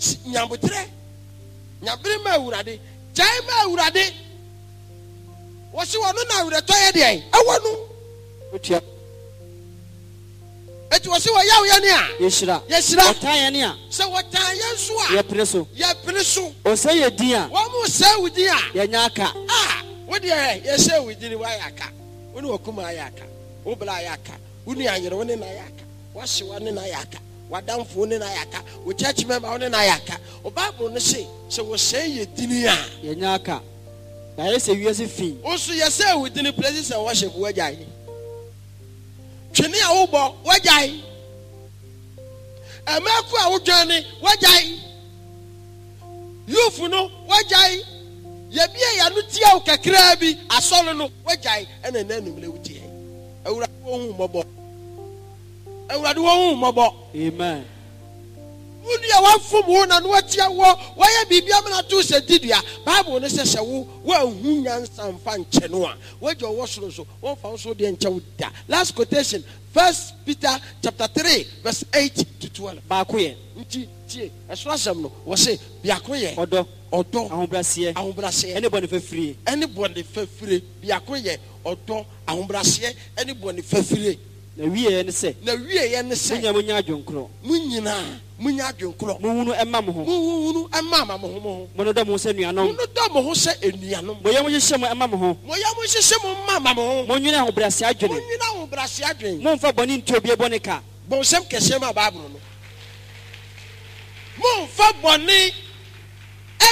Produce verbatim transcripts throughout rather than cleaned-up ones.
Nyabotrɛ nyabere ma Awurade, gyae ma Awurade. Wɔsi wɔn na awerɛtɔ yɛ deɛ ɛwɔ no. Otua. Eti wɔsi wɔ yaw yɛ ni a. Yɛhyira. Yɛhyira. Wɔtan yɛ ni a. Sɛ wɔtan yɛn nso a. Yɛpene so. Yɛpene so. Ɔsɛ yɛ din a. Wɔn mo sɛ wo din a. Yɛnya aka. A wo deɛ yɛsɛ wo din wayɛ aka. Wo ne wakuma ayɛ aka. Wo bla ayɛ aka. Wo nua yere wo ne na ayɛ aka. Wahyewa ne na ayɛ aka. Wadamfo wo ne na ayɛ aka. Wo church member wo ne na ayɛ aka. O Bible no se sɛ wɔsɛe yɛ din a. Yɛnya aka. Yɛayɛ sɛ wiase fi. Wo nso yɛsɛ wo din places and worship wagyae. Twene a wobɔ wagyae. Ɛmɛko a wodwane wagyae. Youth no wagyae. Yɛbie yɛno tia wo kakraa bi asɔre no wagyae. Ɛna ɛna anumere wotie. Awurade wɔn hu mmɔbɔ. Awurade wɔn hu mmɔbɔ. Amen. Wo nua wafom wo na no atia wɔ wɔyɛ biribi amena to sɛ didua. Bible no sɛ sɛ wo woanhu nyansa mfa nkyɛ no a wagya ɔwɔ soro nso wɔmfa wo so deɛ nkyɛ wo da. Last quotation, First Peter chapter three verse eight to twelve. Baako yɛ. Nti tie ɛsoro asɛm no wɔ se biako yɛ. Ɔdɔ. Ɔdɔ. Ahobrɛaseɛ. Ahobrɛaseɛ. Ɛne bɔne fafire. Ɛne bɔne fafire. Biako yɛ ɔdɔ, ahobrɛaseɛ ɛne bɔne fafire. Na wieɛ ne sɛ. Na wieɛ ne sɛ. Mo nyinaa monya adwenkorɔ. Mo nyinaa monya adwenkorɔ. Monhunu ɛmma mo ho. Monhunu ɛmma ma mo ho mo ho. Monnodɔ mo ho sɛ nuanom. Monnodɔ mo ho sɛ enuanom. Mo yam nhyehyɛ mo ɛmma mo ho. Mo yam nhyehyɛ mo mma ma mo ho. Monnwene ahobrɛaseɛ adwene. Monnwene ahobrɛaseɛ adwene. Mommfa bɔne ntua obi bɔne ka. Bɔnsɛm kɛseɛ ma Bible no. Mommfa bɔne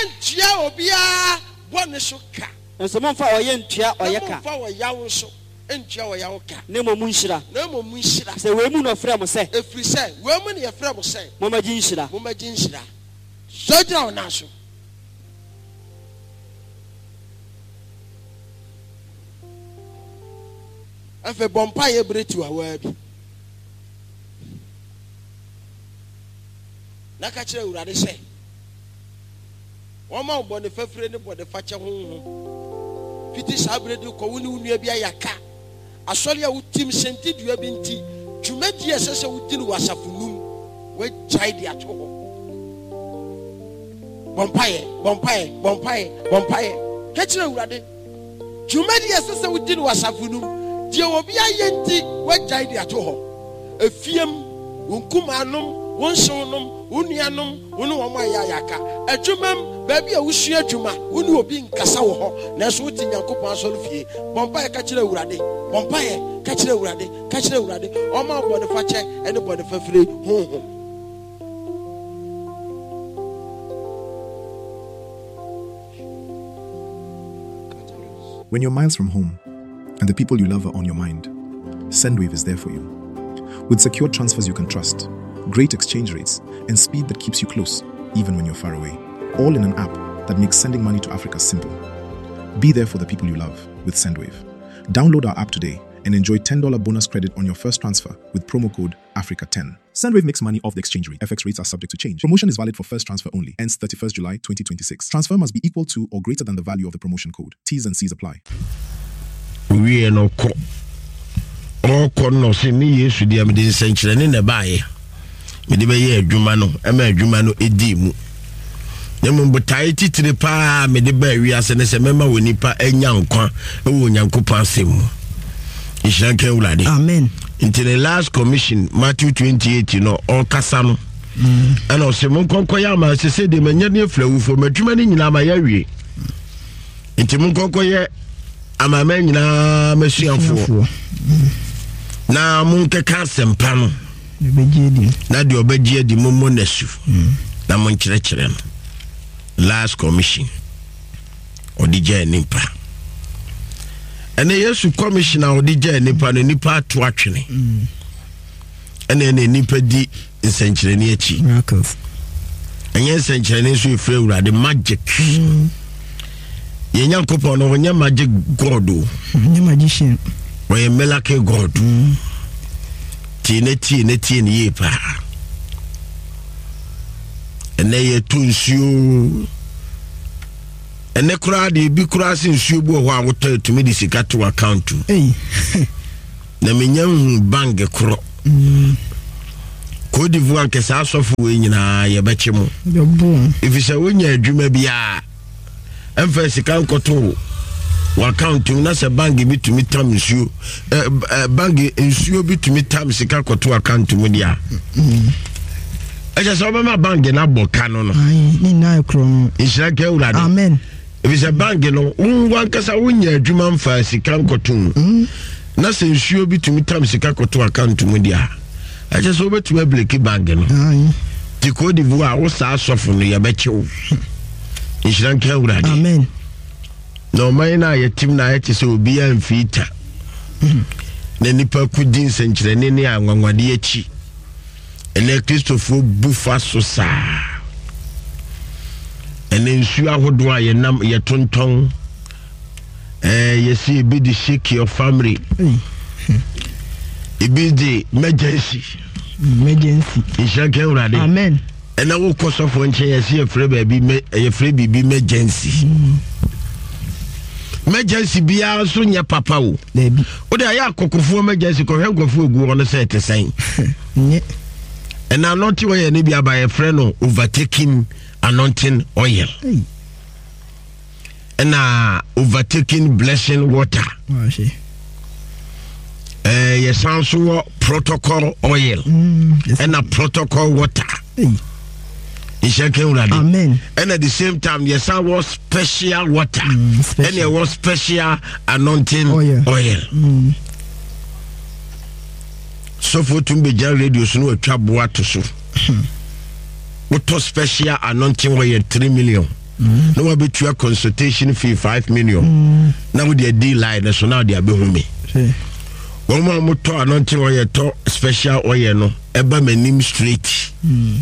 ntua obiara bɔne so ka. Nso mommfa ɔyɛ ntua ɔyɛ ka. Na mommfa ɔyaw nso ntua ɔyaw ka. Na mmom monhyira. Na mmom monhyira. Sɛ wei mu na ɔfrɛ mo sɛ. Ɛfiri sɛ wei mu na yɛfrɛ mo sɛ. Mommɛgye nhyira. Mommɛgye nhyira. Sɔ gyina wo nan so. Afei bɔ mpaeɛ bere tiwawaa bi. Na ka kyerɛ Awurade sɛ wɔma wo bɔne fafire ne bɔne fakyɛ honhom. Fiti saa bere de kɔ wo ne wo nua bi ayɛ aka. Asɔre a wotim sɛnti dua bi nti dwumadi a ɛsɛ sɛ wodi no wɔ asafo num woagyae de ato hɔ. Bɔ mpaeɛ, bɔ mpaeɛ, bɔ mpaeɛ, bɔ mpaeɛ. Ka kyerɛ Awurade dwumadi a ɛsɛ sɛ wodi no wɔ asafo num deɛ obi ayɛ nti woagyae de ato hɔ. Efiem, wo nkumaanom, wo nsewnom, wo nuanom, wo ne wɔn ayɛ ayaka. Adwumam, baabi a wosua adwuma, wo ne obi nkasa wɔ hɔ, nanso wote Nyankopɔn asɔre fie. Bɔ mpaeɛ ka kyerɛ Awurade. Bɔ mpaeɛ ka kyerɛ Awurade. Ka kyerɛ Awurade. Ɔmma wo bɔne fakyɛ ne bɔne fafire honhom. When you're miles from home and the people you love are on your mind, Sendwave is there for you. With secure transfers you can trust, great exchange rates, and speed that keeps you close, even when you're far away. All in an app that makes sending money to Africa simple. Be there for the people you love with Sendwave. Download our app today and enjoy ten dollar bonus credit on your first transfer with promo code Africa ten. Sendwave makes money off the exchange rate. F X rates are subject to change. Promotion is valid for first transfer only. Ends thirty-first July twenty twenty-six. Transfer must be equal to or greater than the value of the promotion code. T's and C's apply. We are no co. All no see me yes with the Amidin century in the bay. Me de be Jumano, Emma Jumano Edimu. Nemu titiri pa me de be we as an S M M wonipa enyankwa ewo Nyankopɔn asɛm. Nhyira nka Awurade. Amen. Nti the last commission Matthew twenty-eight no ɔkasa no. Ɛna ɔsɛ mo nkɔnkɔ yɛ ama sɛ sɛ de manya ne afiri awufoɔ madwuma no nyinaa ma yɛawie. Nti mo nkɔnkɔ yɛ amama nyinaa masuafoɔ. Na mo nkeka asɛmpa no. Na deɛ ɔbɛgye adi mo mmɔ n'asu. Na mo nkyerɛkyerɛ no. Last commission. Ɔde gyaa nipa. Ɛnɛ Yesu commission a ɔde gyaa nipa no nipa ato atwene. Ɛnɛ ɛnɛ nipa di nsɛnkyerɛnne akyi. Ɛnyɛ nsɛnkyerɛnne nso efiri Awurade magic. Yɛn Nyankopɔn no ɔnyɛ magic god o. Ɔnyɛ magician. Ɔyɛ miracle god. Tie ne tie ne tie ne yie paa. Ɛnɛ yɛto nsuo. Ɛnɛ koraa deɛ ebi koraa se nsuo bi wɔ hɔ a wotɔ etumi de sika to account mu. Ei. Na menya nhu bank korɔ. Mm. Cote d'Ivoire nkɛsɛ asɔfo wei nyinaa yɛbɛkye mu. Ɛfiri sɛ wonya adwuma biaa ɛmfa sika nkɔto w'account mu na sɛ bank bi tumi tam nsuo, bank nsuo bi tumi tam sika kɔto account mu deɛ a, ɛkyɛ sɛ wobɛma bank no abɔ ka no no. Nhyira nka Awurade. Amen. Ɛfiri sɛ bank no wo wankasa wonya adwuma mfa sika nkɔto mu na sɛ nsuo bi tumi tam sika kɔto account mu deɛ a, ɛkyɛ sɛ wobɛtumi abreak bank no. Nti Cote d'Ivoire wo saa asɔfo no yɛbɛkye wo. Nhyira nka Awurade. Amen. Na ɔman no a yɛtim no ayɛ te sɛ obiara mfii ta na nnipa kɔdi nsɛnkyerɛnne ne anwanwadeɛ akyi. Ɛnɛ Kristofoɔ bu fa so saa. Ɛnɛ nsuo ahodoɔ a yɛnam yɛtontɔn, ɛɛ yɛsi ebi de shake your family, ebi de emergency. Emergency. Nhyira nka Awurade. Amen. Ɛnɛ wokɔ sɔfoɔ nkyɛn yɛsi yɛfrɛ baabi yɛfrɛ biribi emergency. Emergency biara nso nyɛ papa o. Wode ayɛ akɔkofoɔ emergency kɔhwɛ nkurɔfoɔ egu hɔ no sɛ ɛte sɛn. Ɛna anointing oil no bi aba yɛfrɛ no overtaking anointing oil. Ɛna overtaking blessing water. Ɛɛ yɛsan so wɔ protocol oil. Ɛna protocol water. Nhyɛ nka Awurade. Amen. Ɛna at the same time yɛsan wɔ special water. Ɛna ɛwɔ special anointing oil. oil. Mm. Sɔfo tumi bɛgyina radio so na watwa boa to so. Wotɔ special anointing oil three million. Mm. Na wabɛtua consultation fee five million. Mm. Na wode adi line no so na wode abɛhu me. Wɔn a wɔtɔ anointing oil tɔ special oil no ɛba m'anim straight. Mm.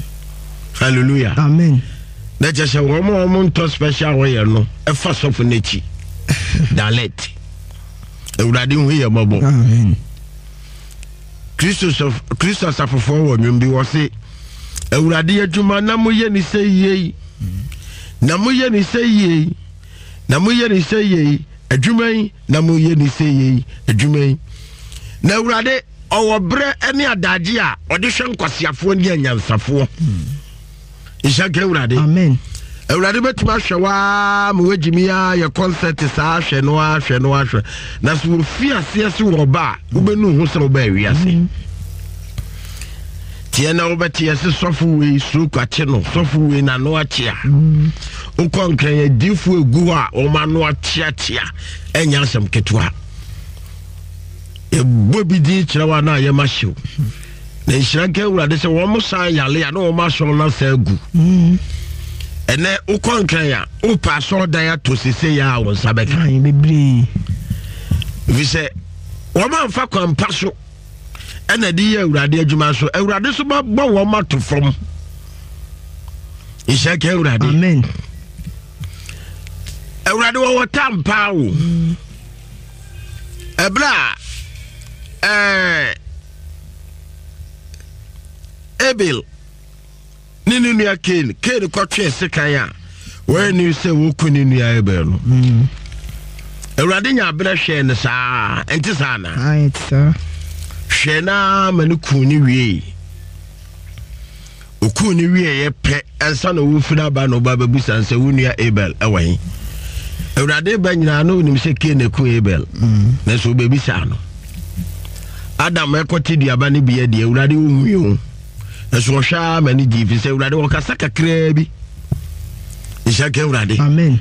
Hallelujah. Amen. Na kyerɛ sɛ wɔn a wɔn ntɔ special oil no ɛfa sɔfo n'akyi. Dalet. Awurade hu yɛ mmɔbɔ. Amen. Kristo Kristo asafofoɔ wɔ nnwom bi wɔ se Awurade adwuma na moyɛ ne sɛ yie, na moyɛ ne sɛ yie, na moyɛ ne sɛ yie, adwuma yi na moyɛ ne sɛ yie, adwuma yi. Na Awurade ɔwɔ berɛ ne adagye a ɔde hwɛ nkwasiafoɔ ne anyansafoɔ. Nhyɛ nka Awurade. Amen. Awurade bɛtumi ahwɛ waa ma wagyimi a yɛ concert saa ahwɛ no ahwɛ no ahwɛ na sɛ wɔfi aseɛ se wɔ ba a wobɛnu ho sɛ wobɛ awiase. Tiɛ na wobɛte yɛ se sɔfo wei stroke akye no, sɔfo wei n'ano akyea. Wokɔ Nkran adiifoɔ egu hɔ a wɔn ano akyeakyea, ɛnyɛ asɛm ketewa. Ɛbɔ bi din kyerɛ wa na ayɛ ma hyew. Na nhyira nka Awurade sɛ wɔn san yale a na wɔn asɔre no asan agu. Ɛnɛ wokɔ Nkran a wopɛ asɔredan ato sese yɛ a wɔn nsa bɛka. Bebree. Ɛfiri sɛ wɔn amfa kwan pa so ɛna de yɛ Awurade adwuma so. Awurade so bɛbɔ wɔn ato fam. Nhyira nka Awurade. Amen. Awurade wɔwɔ tam paa o. Ɛberɛ a ɛɛ Abel ne ne nua Cain, Cain kɔtwee sekan a wɔyɛ ne sɛ wɔku ne nua Abel no. Awurade nya aberɛ hwɛɛ no saa, ɛnte saa na? Hwɛɛ no ma ne kuu ne wiei. Okuu ne wieeɛ pɛ ansa na wɔfiri aba na ɔba bɛbusa sɛ wo nua Abel ɛwɔ he. Awurade ba nyinaa na onim sɛ Cain na ku Abel. Nanso wobɛbisa no. Adam ɛkɔte duaba no bi adi, Awurade ohui o. Nanso ɔhwɛ a ma ne gye fi sɛ Awurade wɔkasa kakraa bi. Nhyɛ ka Awurade. Amen.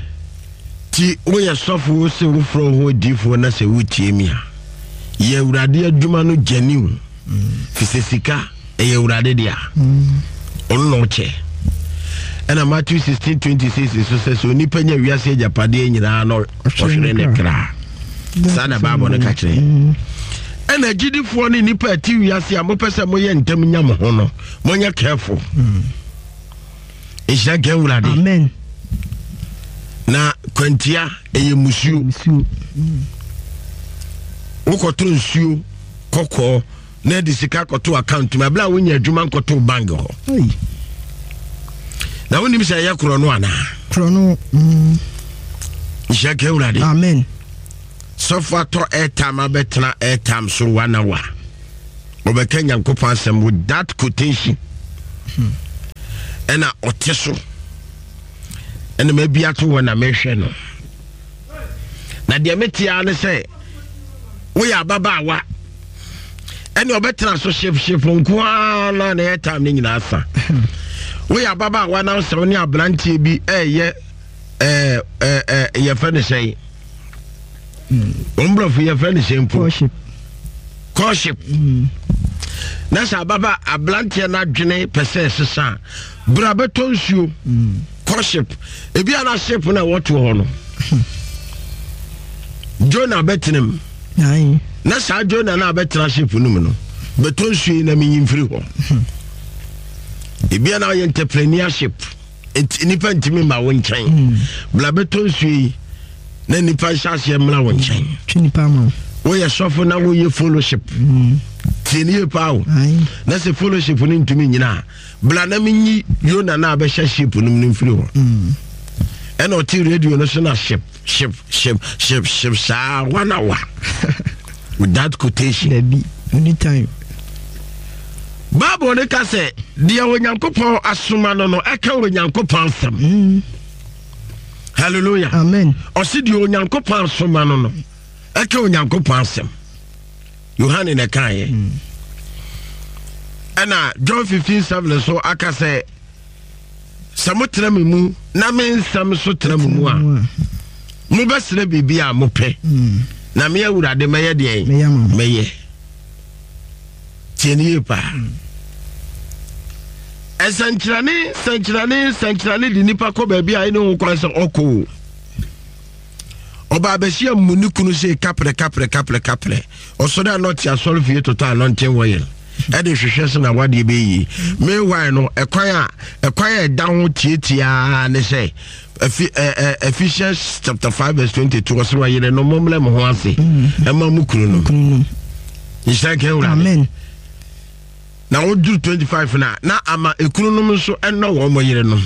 Ti woyɛ sɔfo sɛ wofrɛ wo ho adiifoɔ na sɛ wotie mi a, yɛ Awurade adwuma no gyaniw. Fi sɛ sika ɛyɛ Awurade dea. Ɔno na ɔkyɛ. Ɛna Matthew sixteen twenty six so sɛ sɛ onipa nya wiase agyapadeɛ nyinaa na ɔhwere ne kra. Saa na Bible no ka kyerɛ. Ɛna agyidifoɔ ne nnipa a ɛte wiase a mopɛ sɛ moyɛ ntɛm nya mo ho no, monyɛ careful. Nhyira nka Awurade. Amen. Na kwantia ɛyɛ musuo. Wokɔtɔ nsuo kɔkɔɔ na ɛde sika kɔto account mu abere a wonya adwuma nkɔto bank hɔ. Na wonim sɛ ɛyɛ korɔ no anaa? Korɔ no. Nhyira nka Awurade. Amen. Sɔfo atɔ airtime abɛtena airtime so one hour. Ɔbɛka Nyankopɔn asɛm with that quotation. Ɛna ɔte so ɛna mabi ato hɔ na mehwɛ no. Na deɛ metea ne sɛ woyɛ ababaawa ɛne ɔbɛtena so ship ship nko ara na na ɛyɛ time no nyinaa sa. Woyɛ ababaawa na sɛ wo ne aberanteɛ bi ɛyɛ ɛɛ ɛɛ yɛfrɛ no sɛn, wɔn borɔfo yɛfrɛ no sɛn mpo, courtship. Na sɛ ababa aberanteɛ no adwene pɛ sɛ ɛsesa a, bra bɛtɔ nsuo. Courtship ebi ana ship no a wɔto hɔ no, Jonah bɛtena mu. Na saa Jonah no a bɛtena ship no mu no, bɛtɔ nsuo yi na menyi mfiri hɔ. Ebi ana ɔyɛ entrepreneurship, nipa ntumi ma wo nkyɛn, bla bɛtɔ nsuo yi na nipa nhyɛ aseɛ mmra wo nkyɛn. Woyɛ sɔfo na woyɛ fellowship, tie ne yie paa o. Na sɛ fellowship no ntumi nyina a, bla na menyi Yona na abɛhyɛ ship no mu no mfiri hɔ. Ɛna ɔte radio no so na ship ship ship ship ship saa one hour without quotation. Dabi, anytime. Bible no ka sɛ deɛ Onyankopɔn asoma no no ɛka Onyankopɔn asɛm. Mm. Hallelujah. Amen. Ɔse deɛ Onyankopɔn asoma no no ɛka Onyankopɔn asɛm. Yohane na ɛkaeɛ. Mm. Ɛna John fifteen seven so aka sɛ sɛ motena me mu na me nsɛm so tena mo mu a, mobɛsrɛ biribi a mopɛ, Mm. na me Awurade mɛyɛ deɛn? Mɛyɛ. Tie ne yie paa. Ɛsɛnkyerɛne sɛnkyerɛne sɛnkyerɛne de nipa kɔ baabi a ɛne ho kwan sɛ ɔkɔ o. Ɔbaa bɛhyia mu ne kunu sɛ kaprɛ kaprɛ kaprɛ kaprɛ, ɔsɔre a na ɔte asɔre fie totɔ anɔnten wɔyɛ ɛde hwehwɛ sɛ na wadeɛ bɛyie. Meanwhile no, ɛkwan a ɛkwan a ɛda ho tiatiaa ne sɛ Ephesians chapter five verse twenty-two, ɔsɛ wɔyere no mommrɛ mo ho ase ɛma mo kunu no. Nhyira nka Awurade. Amen. Na woduru twenty-five na na ama ekununom nso ɛnɔ wɔn mo yere no.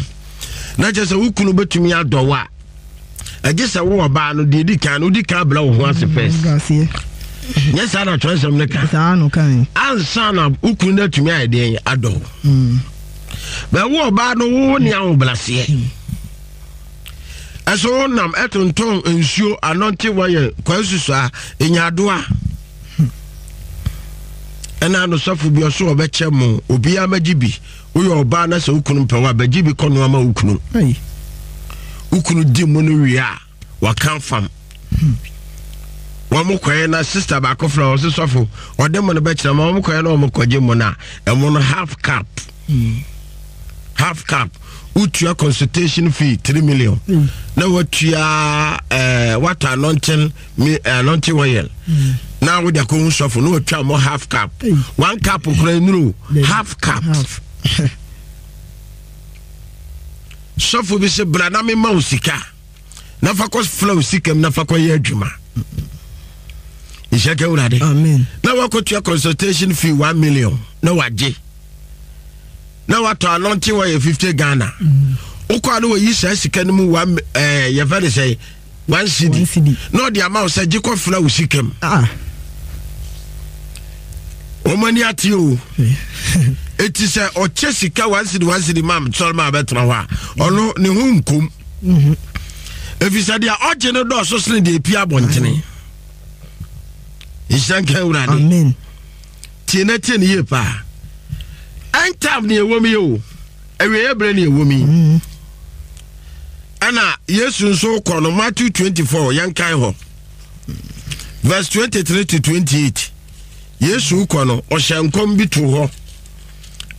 Na kyerɛ sɛ wo kunu bɛtumi adɔ wo a, ɛgye sɛ wo ɔbaa no deɛ di kan no wodi kan brɛ wo ho ase first. Nyɛ saa na twerɛsɛm no ka? Ansa na wo kunu no atumi ayɛ deɛn adɔ wo. Bɛ wo ɔbaa no wo ne ahobraseɛ ɛso wo nam ɛtontɔn nsuo anɔnte wɔyɛ kwan susua enyadoa. Ɛna ano sɔfo bi ɔso ɔbɛkyɛ mo obiara mɛgye bi. Woyɛ ɔbaa na sɛ wo kunu mpɛ wo a, bɛgye bi kɔ noa ma wo kunu. Wo kunu di mu no wie a, waka fam. Wɔn mo kɔɛ na sister baako fira ɔse sɔfo ɔde mo no bɛkyerɛ ma wɔn kɔɛ na wɔn kɔgye mo no a, ɛmo no half cup. Half cup. Wotua consultation fee three million. Na watua ɛɛ eh, watɔ anointing mi anointing oil. Na wode akɔhu sɔfo na watwa mo half cup. One cup kura nnuro half cup. Sɔfo bi sɛ bra na mema wo sika na fa kɔ fla wo sika mu na fa kɔ yɛ adwuma. Nhyɛ ka Awurade. Amen. Na wakɔtua consultation fee one million na wagye. Na watɔ anointing oil fifty Ghana. Wokɔ a na wayi saa sika no mu one ɛɛ yɛfɛ ne sɛ one cedi na ɔde ama wo sɛ gye kɔ fla wo sika mu. Wɔn ani ate o. Eti sɛ ɔkyɛ sika one cedi one cedi ma sɔrɔ ma abɛtena hɔ a, ɔno ne ho nkom. Efisɛ deɛ ɔgye no dɔɔso sene deɛ epia abɔntene. Nhyira nka Awurade. Amen. Tie na tie ne yie paa. End time ne ɛwɔ mu yi o. Awieeɛ berɛ ne ɛwɔ mu yi. Ɛna Yesu nso kɔ no Matthew twenty-four, yɛnkan hɔ verse twenty-three to twenty-eight. Yesu kɔ no ɔhyɛ nkɔm bi to hɔ,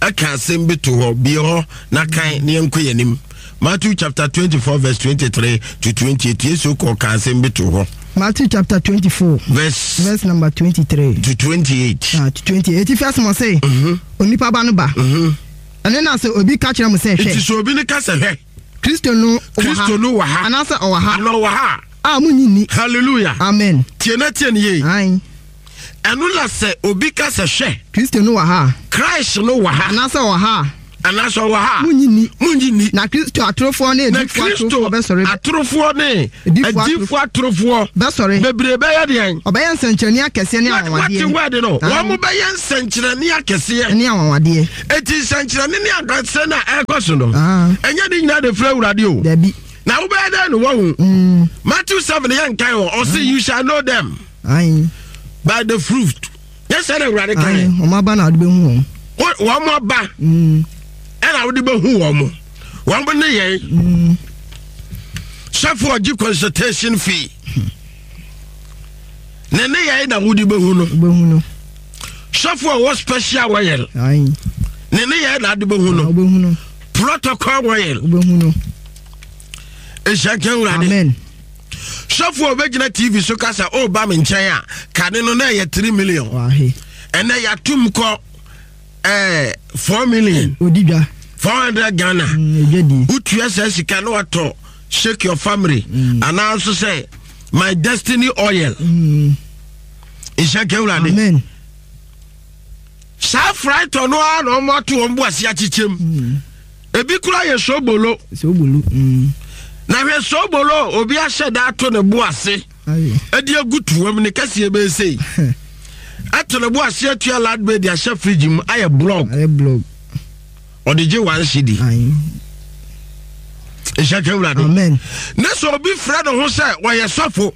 ɛka asɛm bi to hɔ, bie hɔ na kan ne yɛnkɔ yɛn anim. Matthew chapter twenty-four verse twenty-three to twenty-eight. Yesu kɔ ka asɛm bi to hɔ. Matthew chapter twenty-four verse verse number twenty-three to twenty-eight. Ah, to twenty-eight. Eti fi asɛm ɔse, onipa ba no ba. Ɛno na sɛ obi ka kyerɛ mo sɛ hwɛ. Eti sɛ obi ne ka sɛ hwɛ. Kristo no wɔ ha. Kristo no wɔ ha. Anaasɛ ɔwɔ ha. Ana ɔwɔ ha. A mo nyi ni. Hallelujah. Amen. Tie na tie ne yie. Ayi. Ɛno na sɛ obi ka sɛ hwɛ. Kristo no wɔ ha. Christ no wɔ ha. Anaasɛ ɔwɔ ha. Anaasɛ ɔwɔ ha. Munnye nni. Munnye nni. Na Kristo atorofoɔ ne Na adiyifoɔ Kristo atorofoɔ bɛsɔre. atorofoɔ ne Adiyifoɔ adiyifoɔ atorofoɔ Bɛsɔre. bebree bɛyɛ deɛn? Ɔbɛyɛ nsɛnkyerɛnne akɛseɛ ne Wate anwanwadeɛ. word no, Aye. wɔn mo bɛyɛ nsɛnkyerɛnne akɛseɛ. Ne anwanwadeɛ. Eti nsɛnkyerɛnne ne akɛseɛ na ɛrekɔ so no, Ah. ɛnyɛ ne nyinaa de firi Awurade o. Dabi. Na wobɛyɛ dɛn no wɔhu? Mm. Matthew seven yɛ nkan wɔ, ɔse you shall know them Aye. by the fruit. Yɛ sɛ na Awurade Aye. kan. Wɔn aba na wɔde bɛhu wɔn. Wɔn mo aba Mm. ɛna wode bɛhu wɔn mo. Wɔn mo ne yɛn. Mm. Sɔfo ɔgye consultation fee. Ne ne yɛn na wode bɛhu no. Wobɛhu no. Sɔfo ɔwɔ special oil. Aye. Ne ne yɛn na ade bɛhu no. Wobɛhu no. Protocol oil. Wobɛhu no. Ehyia nka Awurade. Amen. Sɔfo a ɔbɛgyina T V so kasa ɔreba me nkyɛn a, kane no na ɛyɛ three million. Wahe. Ɛnɛ yɛatom kɔ ɛɛ four million. Odi dwa. Four hundred Ghana. Mm, edwa die. Wotua saa sika na watɔ Shake Your Family anaa nso sɛ My Destiny oil. Mm. Nhyɛ nka Awurade. Amen. Saa frytɔ no ara na ɔmo ato wɔn bo ase akyekyɛm. Ebi kura yɛ sobolo. Sobolo. Mm. Na hwɛ sobolo, obi ahyɛ da ato ne bo ase Aye. ɛde agu tuam ne kɛseɛ bɛyɛ sei, ato ne bo ase atua ladbed de ahyɛ fridge mu ayɛ block. Ayɛ block. Ɔde gye one cedi. Aye. Nhyɛ nka Awurade. Amen. Ne sɛ obi frɛ ne ho sɛ wɔyɛ sɔfo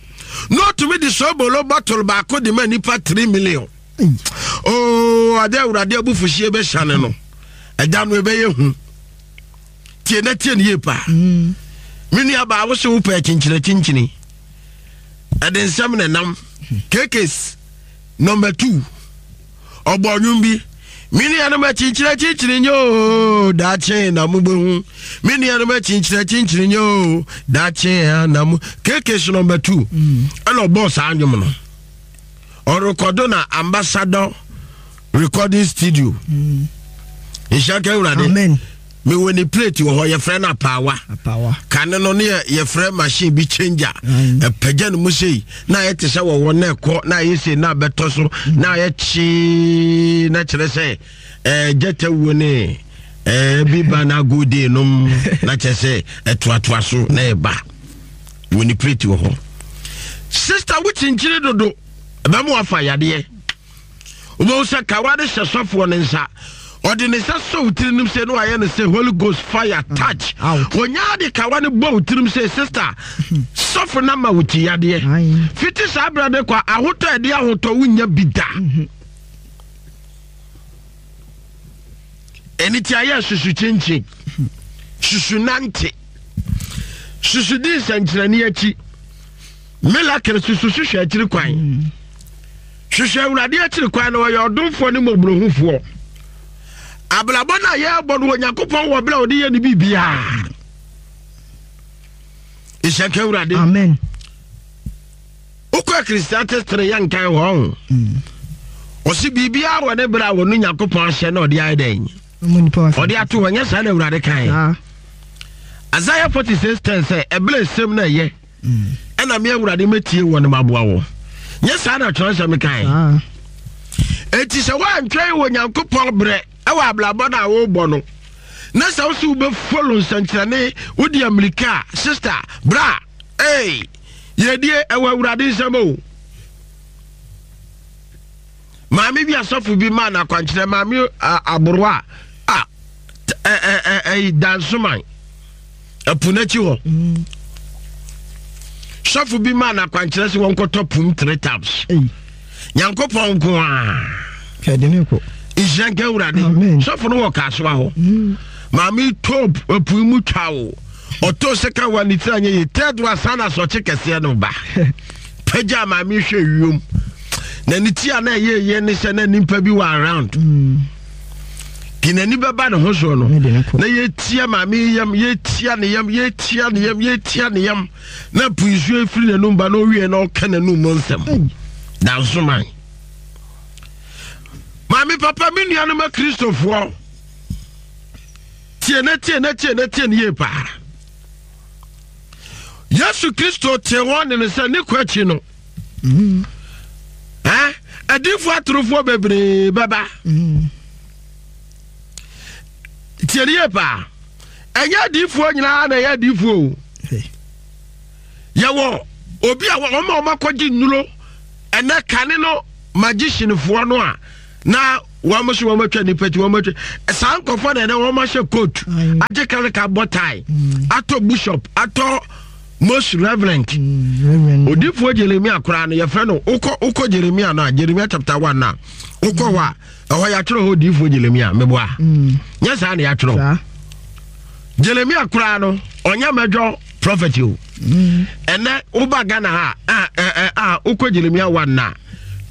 na ɔtumi de sobolo bottle baako de ma nipa three million. Ay. Oo, ade Awurade abufuhyeɛ bɛhyane no, ɛda no ɛbɛyɛ hu. Tie na tie ne yie paa. Mm. Me nua baa, wo sɛ wopɛ kyinkyini kyinkyini, ɛde nsɛm ne nam kekes number two ɔbɔ nnwom bi. Me nuanom, akyinkyini kyinkyini nye o, daakye na mobɛhu. Me nuanom, akyinkyini kyinkyini nye o, daakye na mo. Kekes number two ɛna ɔbɔɔ saa nnwom no. Ɔrekɔdo na Ambassador Recording Studio. Nhyɛ ka Awurade. Amen. Mewɔ ne plate wɔ hɔ, yɛfrɛ no apaawa. Apawa. Kane no ne yɛ- yɛfrɛ machine bi changer. Mm. Ɛpagya no mu sei na ayɛ te sɛ wɔwɔ na ɛkɔ na ayɛ sei na abɛtɔ so na ayɛ kyee na kyerɛ sɛ ɛɛ gyata wuo ne ɛɛ bi ba na agode nom na kyerɛ sɛ ɛtoatoa so na ɛba wɔ ne plate wɔ hɔ. Sister, wo kyinkyini dodo, ɛbɛma wafa yadeɛ. Wobɛhu sɛ kawa de hyɛ sɔfoɔ no nsa, ɔde ne nsa sɔ wo tirim nim sɛ ne wayɛ no sɛ Holy Ghost fire touch. Out. Wɔnyaa de kawa no bɔ wo tirim sɛ, sister, sɔfo no ma wo ti yadeɛ. Aye. Fiti saa berɛ de kɔ, ahotɔ a ɛde ahotɔ wonya bi da. Ɛne ti ayɛ susu kyinkyin, susu nante, susu di nsɛnkyerɛnne akyi, miracle, susu hwehwɛ akyiri kwan. Hwehwɛ Awurade akyiri kwan na ɔyɛ ɔdomfoɔ ne mmɔborɔhufoɔ. Abrabɔ no a yɛrebɔ no, Onyankopɔn wɔ berɛ a ɔde yɛ ne biribiaa. Nhyɛ nka Awurade. Amen. Wokɔ Ecclesiastes three, yɛ nkan hɔ ho. Ɔse biribiaa wɔ ne berɛ a wɔno Nyankopɔn ahyɛ na ɔde ayɛ dɛn? Ɔmo nipa wa. Ɔde ato hɔ. Nyɛ saa na Awurade kae? Saa. Isaiah forty-six ten sɛ ɛberɛ nsɛm no ɛyɛ ɛna me Awurade mɛtie wɔ no maboa wɔ. Nyɛ saa na twerɛsɛm kae? Saa. Enti sɛ woantwɛn wɔ Nyankopɔn berɛ ɛwɔ abrabɔ no a wobɔ no, na sɛ wo sɛ wobɛfollow nsɛnkyerɛnne, wode amirika a, sister, bra ei, yɛdie ɛwɔ Awurade nsɛm o. Maame bi, asɔfo bi maa no akwankyerɛ. Maame aborowa a ɛyi Dansoman ɛpo n'akyi hɔ, sɔfo bi maa no akwankyerɛ sɛ wɔnkɔtɔ pum three times. Nyankopɔn nko a. Kɛde ne kɔ. Nhyira nka Awurade. Amen. Sɔfo no wɔ Kaasoa hɔ. Maame tɔ ɛpo mu twa o, ɔtɔ sika wa ne tiri anyɛ yie. Third one san na asɔkye kɛseɛ no ba pagya. Maame hwɛ wiem na ne ti a na ɛyɛ yɛ ne sɛ na nipa bi wɔ around ti n'ani bɛba ne ho soɔ no Ne de ne kɔ. Na yɛtia maame yi yam, yɛtia ne yam, yɛtia ne yam, yɛtia ne yam na po nsuo efiri n'anum ba na owie na ɔka n'anum mu nsɛm. Dansoman maame papa, me nuanom Akristofoɔ, tie na tie na tie na tie ne yie paa. Yesu Kristo te wɔn ne no sɛ ne kɔ akyi no ɛ adiifoɔ atorofoɔ bebree bɛba. Tie ne yie paa. Ɛnyɛ adiifoɔ nyinaa na ɛyɛ adiifoɔ o. Yɛwɔ obi a wɔn a wɔakɔgye nnuro ɛnɛ kane no magicianfoɔ no a na wɔn nso wɔn atwa nipa ti wɔn atwa saa nkɔfoɔ na ɛnɛ wɔn ahyɛ coat agye karika bɔ tie atɔ bishop atɔ most reverend mm, odiifoɔ Jeremia koraa no yɛfrɛ no wokɔ wokɔ Jeremia no a Jeremia chapter one na wokɔ hɔ a ɛhɔ yɛatwerɛ hɔ odiifoɔ Jeremia meboa mm. nyɛ saa na yɛatwerɛ Jeremia koraa no ɔnyɛ mɛdwɔ prophet o mm. Ɛnɛ woba Ghana ha a a a wokɔ Jeremia one na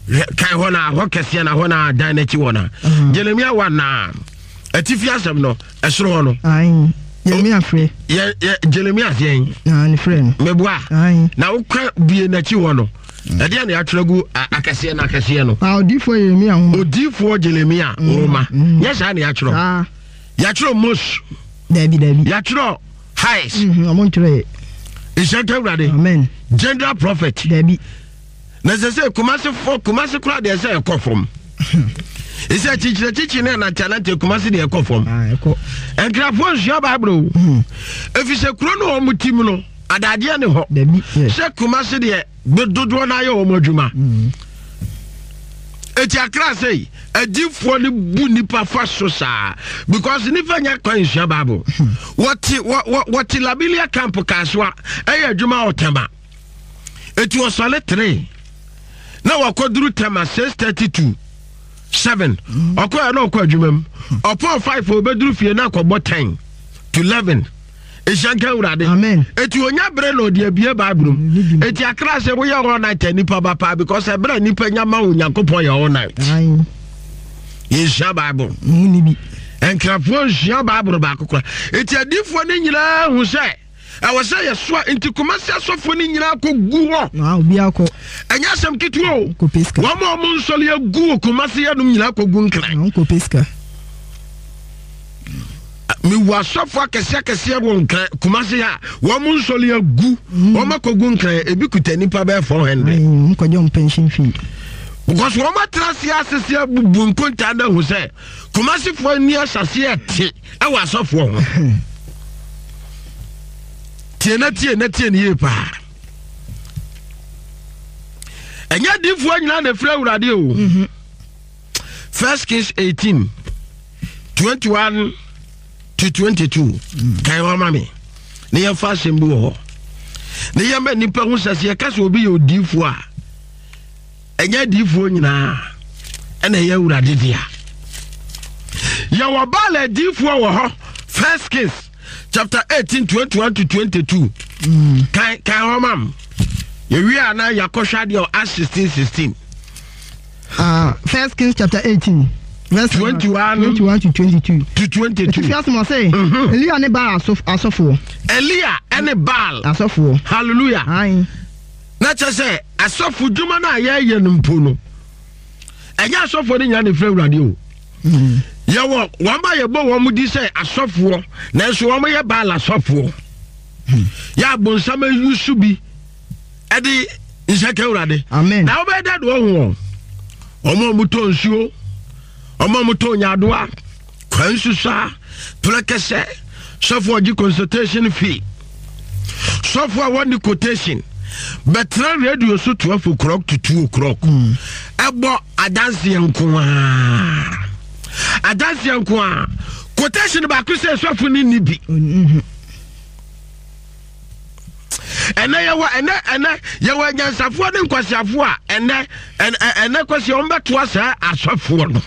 kan hɔ na hɔ kɛseɛ na hɔ na dan n'akyi hɔ na Jeremia one na atifi asɛm no ɛsoro hɔ no Jeremia frɛ. Yɛ yɛ Jeremia seɛn. Na ne frɛ no. Meboa. Na wokɔ bie n'akyi hɔ no. Ɛdeɛ na yɛatwerɛ gu akɛseɛ na akɛseɛ no. Ah, odiifoɔ Jeremia nwoma. Odiifoɔ Jeremia nwoma. Nyɛ saa na yɛatwerɛ. Yɛatwerɛ Mose. Dabi dabi. Yɛatwerɛ Highs. Ɔmo ntwerɛ yɛ. Nhyɛ nka Awurade. Amen. General prophet. Dabi. Na sɛ sɛ Kumase fɔ Kumase koraa deɛ sɛ ɛkɔ fam. Ɛsɛ kyikyirɛ kyikyi ne anante anante Kumase deɛ ɛkɔ fam. Nkrafoɔ nsua Bible o. Ɛfiri sɛ kuro no wɔn ti mu no adadeɛ ne hɔ. Sɛ Kumase deɛ dodoɔ no ayɛ wɔn adwuma. Eti akra sɛ adiifoɔ no bu nipa fa so saa because nipa nya kwan nsua Bible. Wɔte wɔte Labilia camp Kasoa ɛyɛ adwuma ɔtɛma. Eti ɔsɔre three na wakɔduru Tema six thirty to seven ɔkɔ yɛ na ɔkɔ adwuma mu ɔpɔn five ɔbɛduru fie na akɔbɔ ten to eleven ehyia nka Awurade. Amen. Eti onya bere na ɔde abie Bible mu. Eti akra sɛ woyɛ all night a nipa ba paa because ɛbɛrɛ nipa nya ma Onyankopɔn yɛ all night. Yɛnsua Bible. Nkrafoɔ nsua Bible baako kora. Eti adiifoɔ no nyinaa hu sɛ ɛwɔ sɛ yɛsoa nti Kumasi asɔfoɔ no nyinaa kɔ gu hɔ. Ɛnyɛ asɛm ketewa o. Wɔn a wɔn nsɔre agu wɔ Kumasi yɛnom nyinaa kɔ gu Nkran. Mewɔ asɔfoɔ akɛseɛ akɛseɛ wɔ Nkran Kumasi ha wɔn nsɔre agu wɔn akɔ gu Nkran ebi kuta nipa bɛyɛ four hundred. Because wɔn atena ase asese abubu nkontaa na ahu sɛ Kumasifoɔ ani ahyɛseɛ te ɛwɔ asɔfoɔ ho. Tie na tie na tie ne yie paa. Ɛnyɛ adiifoɔ nyinaa na ɛfiri Awurade o. First Kings eighteen twenty one to twenty two. Kan hɔ ma me na yɛmfa asɛm bi wɔ hɔ na yɛma nnipa hu sɛ sɛ yɛka sɛ obi yɛ odiifoɔ a ɛnyɛ adiifoɔ nyinaa ɛna ɛyɛ Awurade dea. Yɛwɔ Baal adiifoɔ wɔ hɔ. First Kings chapter eighteen twenty one to twenty two. Kan kan hɔ mam. Yɛwie a na yɛakɔhwɛ adeɛ wɔ Acts sixteen sixteen. Uh, First Kings chapter eighteen. Verse twenty one twenty one to twenty two. To twenty two. Etifi asem ɔsɛ. Elia ne Baal asɔfoɔ. Elia ne Baal asɔfoɔ. Hallelujah. Aye. Na kyerɛ sɛ asɔfo dwuma no a yɛyɛ no mpo no ɛnyɛ asɔfoɔ no nyinaa na ɛfiri Awurade o. Yɛwɔ wɔn a yɛbɔ wɔn di sɛ asɔfoɔ nanso wɔn yɛ Baal asɔfoɔ. Yɛ abonsam ayi so bi ɛde nhyɛka Awurade. Amen. Na wobɛyɛ dɛ de wɔn ho wɔn a wɔtɔ nsuo, wɔn a wɔtɔ nyaadoa, kwan susa, prɛkɛsɛ, sɔfoɔ ɔgye consultation fee, sɔfoɔ a wɔne quotation bɛtena radio so twelve o'clock to two o'clock ɛbɔ adanseɛ nko a adanseɛ nko a quotation baako sɛ sɔfo ne ni bi. Ɛnɛ yɛwɔ ɛnɛ ɛnɛ yɛwɔ anyansafoɔ ne nkwasiafoɔ a ɛnɛ ɛnɛ kwasi wɔn bɛtoa saa asɔfoɔ no.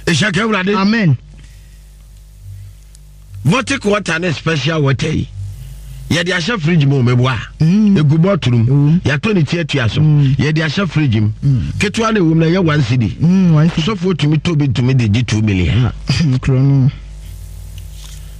Ehyɛ ka Awurade. Amen. Vortic water ne special water yi yɛde ahyɛ fridge mu meboa egu bɔtolo mu yɛatɔ ne ti atua so yɛde ahyɛ fridge mu ketewa na ɛwɔ mu na ɛyɛ one cedi sɔfoɔ tumi tɔ bi tumi de gye two million.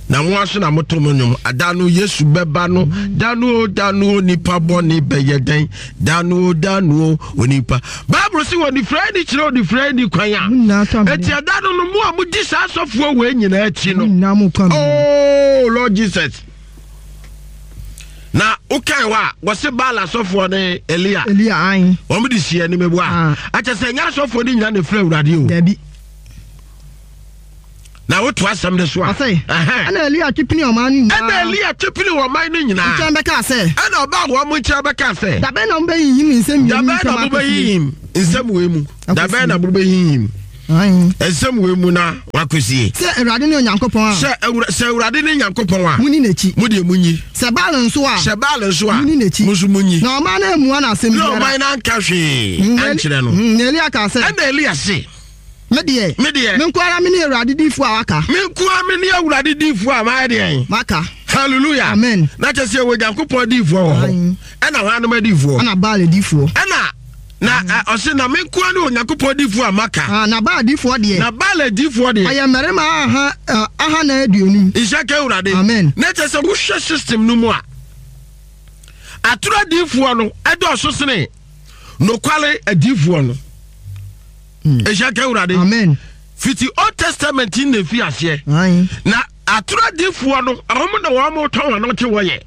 Na mo aso na moto mo nnwom ada no Yesu bɛba no da no o da no o nipa bɔne bɛyɛ dɛn da no o da no o onipa Bible sɛ onifirani kyerɛ onifirani kwan a eti ɛda no no mo a modi saa asɔfoɔ wei nyinaa akyi no oh Lord Jesus. Na wokae hɔ a wɔse Baal asɔfoɔ ne Elia Elia ae wɔn de si anim ebu a akyɛ sɛ ɛnyɛ asɔfoɔ no nyinaa na efiri Awurade o. Dabi. Na woto asɛm no so a, Ɔse, ɛhɛn. Ɛna Elia twe pini ɔman no nyinaa. Ɛna Elia twe pini ɔman no nyinaa. Nkyɛn bɛkaa sɛ. Ɛna ɔbaa wɔn nkyɛn bɛkaa sɛ. Dabɛn na mobɛhinhim nsɛm mmienu Dabɛn na ntam akɔsie? mobɛhinhim nsɛm wei mu. Dabɛn na mobɛhinhim Ae. nsɛm wei mu na wakɔsie? Sɛ Awurade ne Onyankopɔn a. Sɛ Awura, sɛ Awurade ne Nyankopɔn a. Monni n'akyi. Mo deɛ monyi. Sɛ Baal nso a. Sɛ Baal nso a. Monni n'akyi. Mo nso monyi. Na ɔman no ammua no asɛm Na biara. ɔman no anka hwee Mm, na Eli- ankyerɛ no. Mm, na Elia kaa sɛ. Ɛna Elia se. Me deɛ. Me deɛ. Me nko ara mene Awurade diyifoɔ a waka. Me nko ara mene Awurade diyifoɔ a mayɛ deɛn? Maka. Hallelujah. Amen. Na kyerɛ sɛ yɛwɔ Nyankopɔn adiyifoɔ wɔ hɔ. Ɛna hwannom adiyifoɔ? Ɛna Baal adiyifoɔ. Ɛna na ɛ, ɔse na me nko ara ne Onyankopɔn adiyifoɔ a maka. Ah, na Baal adiyifoɔ deɛ. Na Baal adiyifoɔ deɛ. Ɔyɛ mmarima aha, ɛ, ahanan aduonum. Nhyira nka Awurade. Amen. Na kyerɛ sɛ wohwɛ system no mu a, atoro adiyifoɔ no ɛdɔɔso sene nokware adiyifoɔ no. Nhyira nka Awurade. Amen. Fiti Old Testament na efi aseɛ. Aye. Na atoro adiyifoɔ no, wɔn na wɔn tɔn wɔn te wɔyɛ.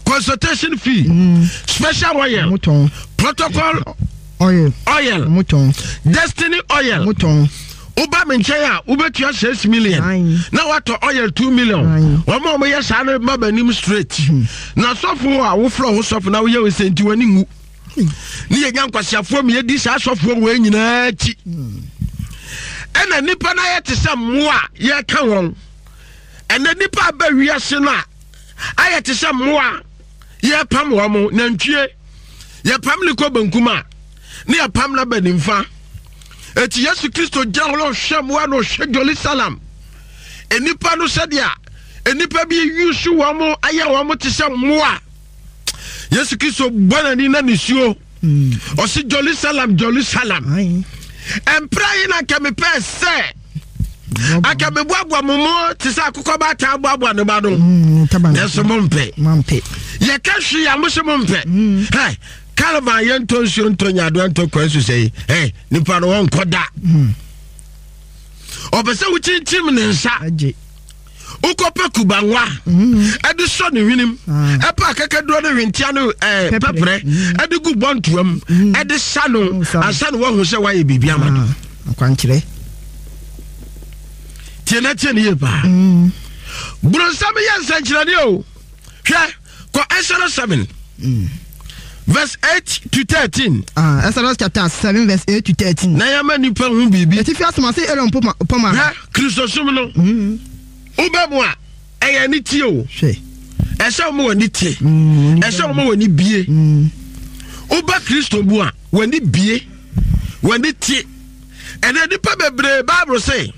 Consultation fee, mm. special oil, Motɔn. protocol oil, oil, Motɔn. destiny oil. Motɔn. Woba me nkyɛn a wobɛtua six million Aye. na watɔ oil two million. Aye. Wɔn a wɔyɛ saa no ma b'anim straight. Na sɔfo a wofrɛ ho sɔfo na woyɛ wo sɛ nti w'ani nwu. Ne yɛnya nkwasiafoɔ mi yɛdi saa sɔfoɔ wei nyinaa akyi. Ɛna nnipa no ayɛ te sɛ mmoa a yɛka wɔn. Ɛnɛ nnipa aba wiase no a ayɛ te sɛ mmoa a yɛpam wɔn mo nantwie. Yɛpam ne kɔ benkum a ne yɛpam no aba nimfa. Eti Yesu Kristo gyina hɔ na ɔhwɛ mmoa na ɔhwɛ Jerusalem. Nnipa no sɛdeɛ nnipa bi yusu wɔn mo ayɛ wɔn mo te sɛ mmoa. Yesu Kristo bɔ n'ani na nisuo. Ɔsi Jerusalem, Jerusalem. Mpra yi na nka mepɛ sɛ anka meboaboa mo mo te sɛ akokɔ baataa boaboa ne ba no. Nanso mompɛ. Yɛka hwee a mo se mompɛ. Hɛ, Calvin yɛntɔ nsuo ntɔ nyadoa ntɔ kwan so sɛ yi. Hɛ, nipa no wɔnkɔ da. Ɔpɛ sɛ wokyinkyim ne nsa. Wokɔpɛ kubanwa ɛde sɔ ne hwenem, ɛpɛ akakaduro ne hwentia ne ɛɛ pɛprɛ ɛde gu bɔntoa mu ɛde sa no ansa na wahu sɛ wayɛ biribi ama no. Akwankyerɛ. Tie na tie ne yie paa. Boronsam yɛ nsɛnkyerɛnne o. Hwɛ, kɔ Exodus seven verse eight to thirteen. Ah, Exodus chapter seven verse eight to thirteen. Na yɛma nipa hu biribi. Etifi asoma se Aaron poma poma. Hwɛ, Kristosom no. Wobɛ mu a, ɛyɛ ani tie o. Hwɛ. Ɛsɛ wɔn ani tie. Mm, Ɛsɛ wɔn ani bie. Mm. Woba Kristo mu a, wɔn ani bie. Wɔn ani tie. Ɛnna nipa bebree Bible say,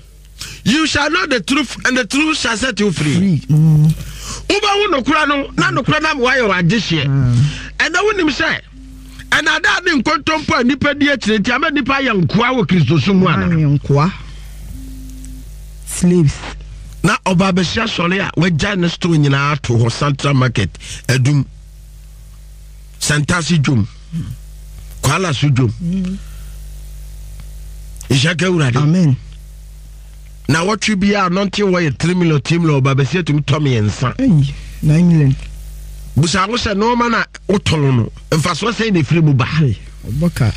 you shall know the truth and the truth shall set you free. Free. Mm. Wobɛhu nokora no na nokora no ama woayɛ w'adehyeɛ. Ɛnna wonim sɛ ɛnna ada ne nkontompo a nipa di akyire nti ama nipa ayɛ nkoa wɔ Kristosom mu ana? Ayɛ nkoa. Slaves. Na ɔba abɛhyia sɔre a wagya ne store nyinaa ato hɔ Central Market adum Santase dwom Kwala so dwom. Nhyɛ ka Awurade. Amen. Na wɔtwe biara nɔnte wɔ yɛ three million three million ɔba abɛsi atumi tɔ mmiɛnsa. Ɛyi, nine million. Busa ho sɛ nneɛma na wotɔn no mfasoɔ sɛn na efiri mu ba. Ɔbɔ ka.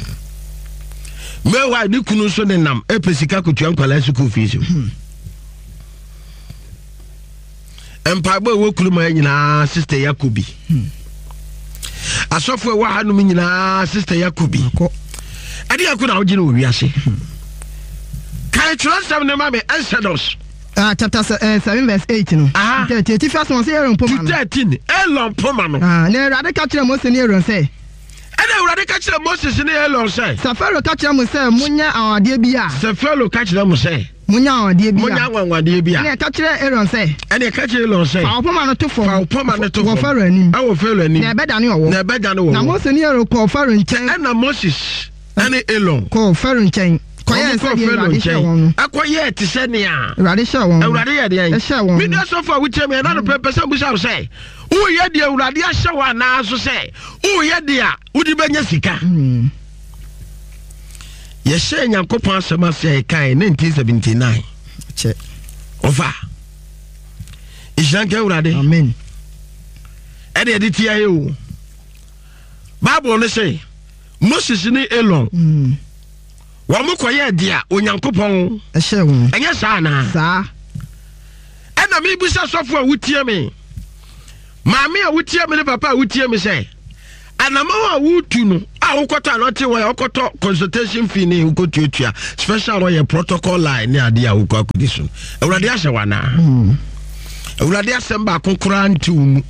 Meanwhile ne kunu nso nenam ɛpɛ sika kotua nkwadaa sukuu fees. Mpaebɔ ɛwɔ kurom ha nyinaa sister Yakobi. Asɔfo ɛwɔ hanom nyinaa sister Yakobi. Ɛde yɛ ko na wogye no wɔ wiase. Kae twerɛsɛm ne ma me Exodus. Uh, chapter se, uh, seven verse eight no. Aha. Thirteen etifi asoma sɛ Aaron poma no. To thirteen Aaron poma no. Ah, na Awurade ka kyerɛ Mose ne Aaron sɛ. Ɛna Awurade ka kyerɛ Moses ne Aaron sɛ. Sɛ Farao ka kyerɛ mo sɛ monyɛ anwanwadeɛ bi a. Sɛ Farao ka kyerɛ mo sɛ. Monyɛ anwanwadeɛ bi a. Monyɛ anwanwadeɛ bi a. Ɛna ɛka kyerɛ Aaron sɛ. Ɛna ɛka kyerɛ Aaron sɛ. Fa wo poma no to fam. Fa wo poma no to fam. Wɔ Farao anim. Ɛwɔ Farao anim. Na ɛbɛdane ɔwɔ. Na ɛbɛdane ɔwɔ. Na Mose ne Aaron kɔɔ Farao nkyɛn. Ɛna Moses ɛne Aaron. Kɔɔ Farao nkyɛn. Kɔyɛɛ sɛdeɛ Awurade hyɛɛ wɔn no. Ɛkɔyɛɛ te sɛ nea. Awurade hyɛɛ wɔn no. Awurade yɛ deɛn? Ɛhyɛɛ wɔn no. Me nua sɔfo a wotie me ɛna no pɛ pɛ sɛ mbusa wo sɛ woyɛ deɛ Awurade ahyɛ wo anaa so sɛ woyɛ deɛ a wode bɛnya sika. Yɛhyɛɛ Nyankopɔn asɛm ase a yɛkae nineteen seventy-nine. Kyɛ. Ɔfa. Nhyira nka Awurade. Amen. Ɛde ɛde tia yɛ o. Bible no sɛ Moses ne Aaron. Mm. Wɔn mo kɔyɛ deɛ Onyankopɔn ɛhyɛ wɔn. Ɛnyɛ saa naa. Saa. Ɛna mebisa sɔfo a wotie me, maame a wotie me ne papa a wotie me sɛ, anamɔ a wotu no a wokɔtɔ anɔte wɔ yɛ wokɔtɔ consultation fee ne wokɔtuatua special ɔyɛ protocol line ne adeɛ a wokɔ akɔdi so no, Awurade ahyɛ wo anaa? Awurade asɛm baako koraa nte wo mu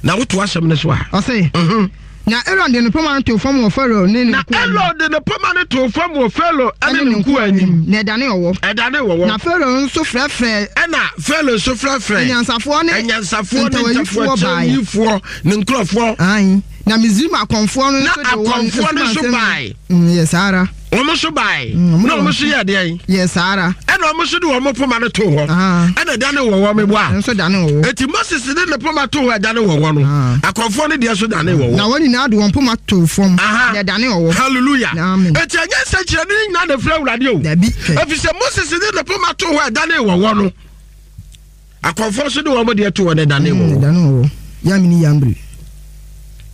na woto asɛm no so a. Ɔse, Mhm. na Aaron de ne poma no too fam wɔ Farao ne ne Na nkoa anim. Aaron de ne poma no too fam wɔ Farao ne ne nkoa anim. Na ɛdane ɔwɔ. Ɛdane wɔwɔ. Na Farao nso frɛfrɛ Ɛna Farao nso frɛfrɛ anyansafoɔ ne anyansafoɔ ne ntawayifoɔ baeɛ. ntafoakyɛyifoɔ ne nkurɔfoɔ. Ae. Na Misraim akɔmfoɔ no Na nso de wɔn akɔmfoɔ no nso asumansɛm- bae. Mm, yɛ saa ara. Wɔn nso bae. Mm, wɔn Na de wɔn wɔn- nso yɛ deɛn? Yɛ saa ara. Ɛna wɔn nso de wɔn poma no too hɔ. Ah. Ɛna ɛdane wɔwɔ meboa. Nso dane ɔwɔ. Eti Moses de ne poma too hɔ, ɛdane wɔwɔ no. Ah. Akɔmfoɔ no deɛ nso dane wɔwɔ. Na wɔn nyinaa de wɔn poma too fam. Aha. Na ɛdane ɔwɔ. Hallelujah. Amen. Eti ɛnyɛ nsɛnkyerɛnne no nyinaa na efiri Awurade o. Dabi, hwɛ. Efisɛ Moses de ne poma too hɔ, ɛdane wɔwɔ no. Akɔmfoɔ nso de wɔn deɛ too hɔ na ɛdane Mm, wɔwɔ. ɛdane ɔwɔ. Yamini yambiri.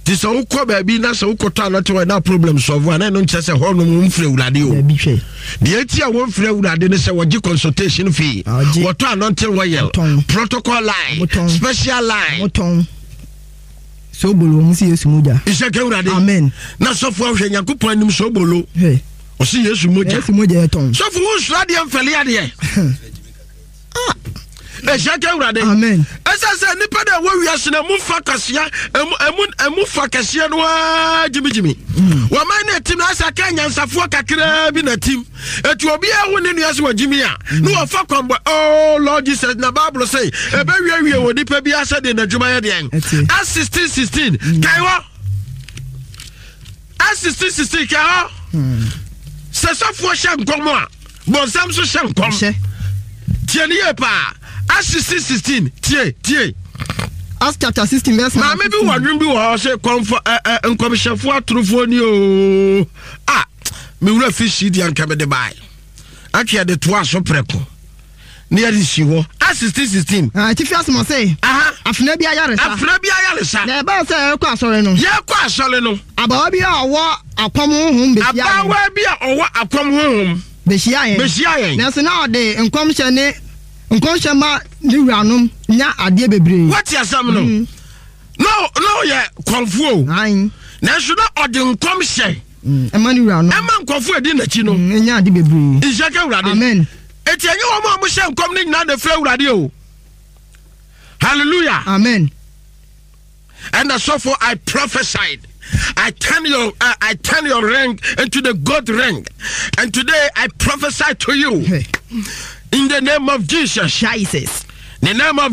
Ti sɛ wokɔ baabi na sɛ wokɔtɔ anɔte hɔ na problem solve a, na ɛno nkyerɛ sɛ hɔnom wɔmfiri Awurade o. Dabi, hwɛ. Deɛ eti a wɔmfiri Awurade ne sɛ wɔgye consultation fee. Ɔgye. Wɔtɔ anointing oil, Wɔtɔn. protocol line, Wɔtɔn. special line. Wɔtɔn. Sobolo wɔn si Yesu mogya. Nhyɛ ka Awurade. Amen. Na sɔfo ahwɛ Nyankopɔn anim sobolo. Hwɛ. Ɔsi Yesu mogya. Yesu mogya yɛ tɔn. Sɔfo, wo nsoro adeɛ, mfɛle adeɛ. Ɛhyɛ ka Awurade. Amen. Ɛsɛ sɛ nipa dɛ ɛwɔ wiase no ɛmu fa kɛseɛ, ɛmu ɛmu ɛmu fa kɛseɛ no waa gyimigyimi. Wɔman no atim na asɛ aka nyansafoɔ kakraa bi na tim. Etu obiara ho ne nua sɛ wɔgyimi a ne wɔfa kwanbɔ. Oh Lord Jesus, na Bible sɛ ɛbɛwiewie wɔ nipa bi asɛ deɛ n'adwuma yɛ deɛn. Ɛte. Acts sixteen sixteen kae hɔ. Acts sixteen sixteen kae hɔ. Sɛ sɔfoɔ hyɛ nkɔm a, bɔnsam nso hyɛ nkɔm. Hyɛ. Tie ne yie paa. Acts sixteen sixteen, tie, tie. Acts chapter sixteen verse number Maame bi wɔ nwom bi wɔ hɔ sɛ kɔnfɔ ɛ ɛ nkɔmhyɛfoɔ atorofoɔ ni ooo. A mewura fi si deɛ nka mede bae atwe yɛde toa so prɛko ne yɛde si hɔ. Acts sixteen sixteen. Ah, atifi asɛm ɔse. Aha. Afena bi ayaresa. Afena bi ayaresa. Na ɛbaa sɛ yɛrekɔ asɔre no. Yɛrekɔ asɔre no. Abaawa bi a ɔwɔ akɔm honhom bɛhyia yɛn. Abaawa bi a ɔwɔ akɔm honhom. Bɛhyia yɛn. Bɛhyia yɛn. Nanso na ɔde nkɔmhyɛ ne nkɔmhyɛ ma ne wuranom nya adeɛ bebree. Wɔte asɛm no. Na na ɔyɛ kɔnfoɔ o. Ae. Nanso na ɔde nkɔmhyɛ. Mm, ɛma ne wuranom. Ɛma nkɔfoɔ adi n'akyi no. Mm, nya ade bebree. Nhyɛ ka Awurade. Amen. Eti ɛnyɛ wɔn a wɔhyɛ nkɔm no nyinaa na efiri Awurade o. Hallelujah. Amen. And the so I prophesied. I turn your uh, I turn your ring into the gold ring. And today I prophesy to you Hey. in the name of Jesus. Jesus. The name of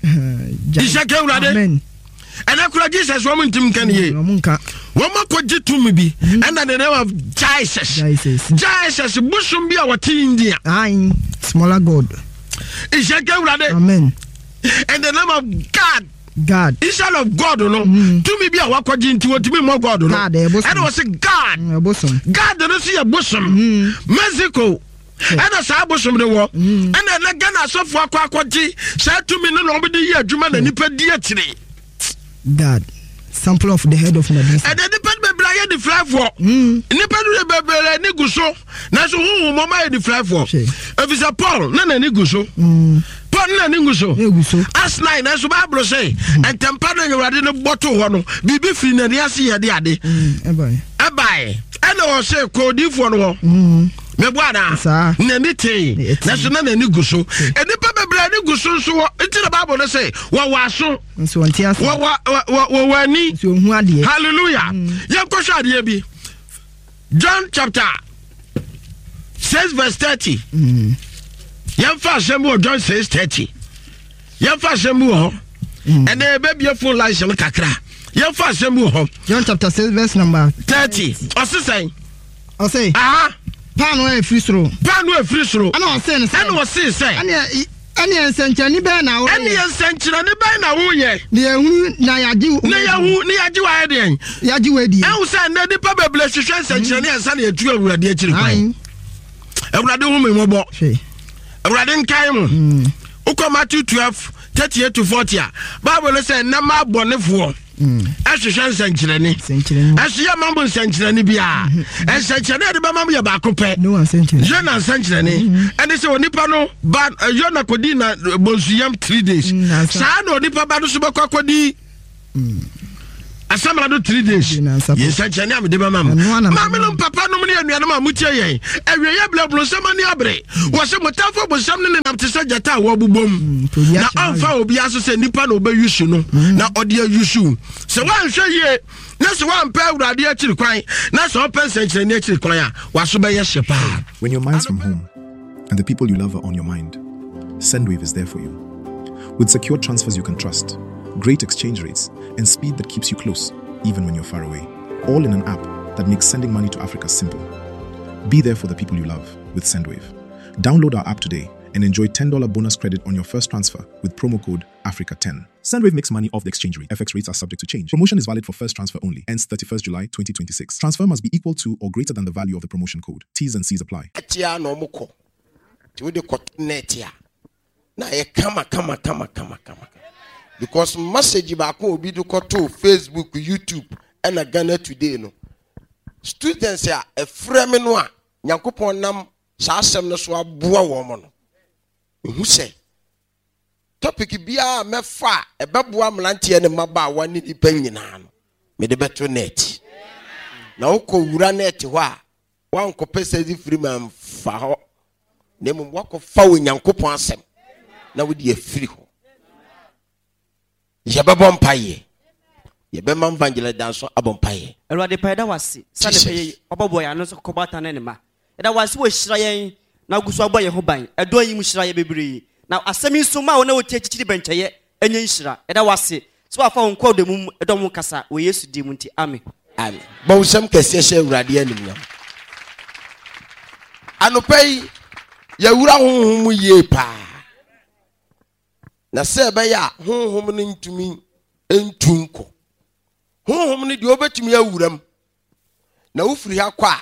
Nhyɛ ka Awurade. Amen. Ɛnɛ kura Jesus wɔn ntim nka ne yie. Ɔmo nka. Wɔn akɔgye tumi bi. Ɛna the name of Jesus. Jesus. Jesus bosom bi a wɔte India. Ae. Smaller God. Nhyɛ ka Awurade. Amen. In the name of God. God. Instead of God no, tumi bi a wakɔgye nti wɔtumi mmɔ God no. God, ɛyɛ bosom. Ɛna wɔsi God. Mm, Ɛbosom. God no nso yɛ bosom. Mexico ɛna saa bosom no wɔ. Ɛna ɛnɛ Ghana asɔfoɔ akɔ akɔgye saa tumi no na wɔde yɛ adwuma na nipa di akyire. God. Sample of the head of Medusa. Ɛnɛ nipa no bebree ayɛ nifirafoɔ. Nipa no bebree ani gu so, nanso huhu mɔmɔ ayɛ nifirafoɔ. Hwɛ. Efisɛ Paul na n'ani gu so. Paul na n'ani gu so. Egu so. Acts nine, nanso Bible sɛ ntɛmpa no Awurade no bɔ to hɔ no, biribi firi n'ani ase yɛ de ade. Mm, ɛbae. Ɛbae ɛna ɔsɛ kɔɔdifoɔ no hɔ. Mɛbɔ anaa? Saa. N'ani tee. Ɛtee. Nanso na n'ani gu so. Nnipa bebree ani gu so nso wɔ nti na Bible no sɛ wɔwɔ aso. Nso ɔnte ase. Wɔwɔ wɔ- wɔwɔ ani. Nso ohu adeɛ. Hallelujah. Yɛnkɔhwɛ adeɛ bi. John chapter six verse thirty. Yɛmfa asɛm bi wɔ John six thirty. Yɛmfa asɛm bi wɔ hɔ. Ɛnna yɛbɛbie phone lines no kakra. Yɛmfa asɛm bi wɔ hɔ. John chapter six verse number thirty. Ɔse sɛn? Ɔse. Aha. Paano a ɛfiri soro. Paano a ɛfiri soro. Ɛna ɔse no sɛ. Ɛna ɔse sɛ. Ɛne ɛne nsɛnkyerɛnne bɛn na woyɛ? Ɛne nsɛnkyerɛnne bɛn na woyɛ? Na yɛhunu na yɛagye wo. Na yɛhu na yɛagye wo ayɛ deɛn? Yɛagye wo adi. Ɛhu sɛ nnɛ nipa bebree hwehwɛ nsɛnkyerɛnne ansa na yɛtu Awurade akyiri kwan. Awurade hu me mmɔbɔ. Awurade nkae mo. Wokɔ Matthew twelve thirty eight to forty a, Bible no sɛ nnɛ ma abɔnefoɔ. Ɛhwehwɛ nsɛnkyerɛnne. Ɛso yɛ ma mo nsɛnkyerɛnne biara. Nsɛnkyerɛnne a yɛde bɛma mo yɛ baako pɛ. Yona nsɛnkyerɛnne. Ɛne sɛ onipa no ba, Yona kɔdi na bonsuyam three days. Saa na onipa ba no so bɛkɔ akɔdi asamara do three days. Yɛ nsɛnkyerɛnne a mede bɛma mo. Maame nom, papa nom ne anuanom a motie yɛn, awieyɛ berɛ, bronsam ani abere. Wɔ sɛ motamfo bonsam ne nenam te sɛ gyata a wɔbobom, na ɔmfa obiara so sɛ nnipa na ɔbɛyusu no na ɔde ayusu. Sɛ woanhwɛ yie na sɛ woampɛ Awurade akyiri kwan na sɛ ɔpɛ nsɛnkyerɛnne akyiri kwan a, waso bɛyɛ hye paa. When your mind's from home and the people you love are on your mind, Sendwave is there for you. With secure transfers you can trust, great exchange rates, and speed that keeps you close, even when you're far away. All in an app that makes sending money to Africa simple. Be there for the people you love with Sendwave. Download our app today and enjoy ten dollars bonus credit on your first transfer with promo code Africa ten. Sendwave makes money off the exchange rate. F X rates are subject to change. Promotion is valid for first transfer only. Ends thirty-first July twenty twenty-six. Transfer must be equal to or greater than the value of the promotion code. T's and C's apply. Akyia na ɔmo kɔ nti wode kɔto net a na ayɛ kama kama kama kama kama, because message baako a obi de kɔto Facebook, YouTube ɛna Ghana Today no, students a ɛfrɛ me no a Nyankopɔn nam saa asɛm no so aboa wɔn mo no, ehu sɛ topic biara a mɛfa a ɛbɛboa mmeranteɛ ne mmabaawa ne nipa nyinaa no, mede bɛto net. Na wokɔ wura net hɔ a, wankɔpɛ sɛ de firi ma mfa hɔ, na mmom wakɔfa Onyankopɔn asɛm na wode afiri hɔ. Yɛbɛbɔ mpayɛ, yɛbɛma Evangelist Danso abɔ mpayɛ. Awurade pa, yɛda wase sane pɛ yi wabɔbɔ yɛn ano sɛ kɔkɔbɔ ata ne ne ma. Yɛda wase wɔ hyira yɛn na agu so abɔ yɛn ho ban. Ɛdɔ yi mu hyira yɛ bebree na asɛm yi nso ma wo na wɔtie akyikyiri bɛnkyɛyɛ ɛnyɛ nhyira. Yɛda wase sɛ wafa wo nkɔɔ dɔ mu ɛdɔ mu kasa wɔ Yesu din mu nti, amen. Amen. Bɔ wo nsɛm kɛseɛ hyɛ Awurade animnyam. Anɔpa yi yɛwura honhom mu yie paa, na sɛ ɛbɛyɛ a honhom no ntumi ntu nkɔ. Honhom no deɛ, wobɛtumi awura mu na wofiri ha kɔ a,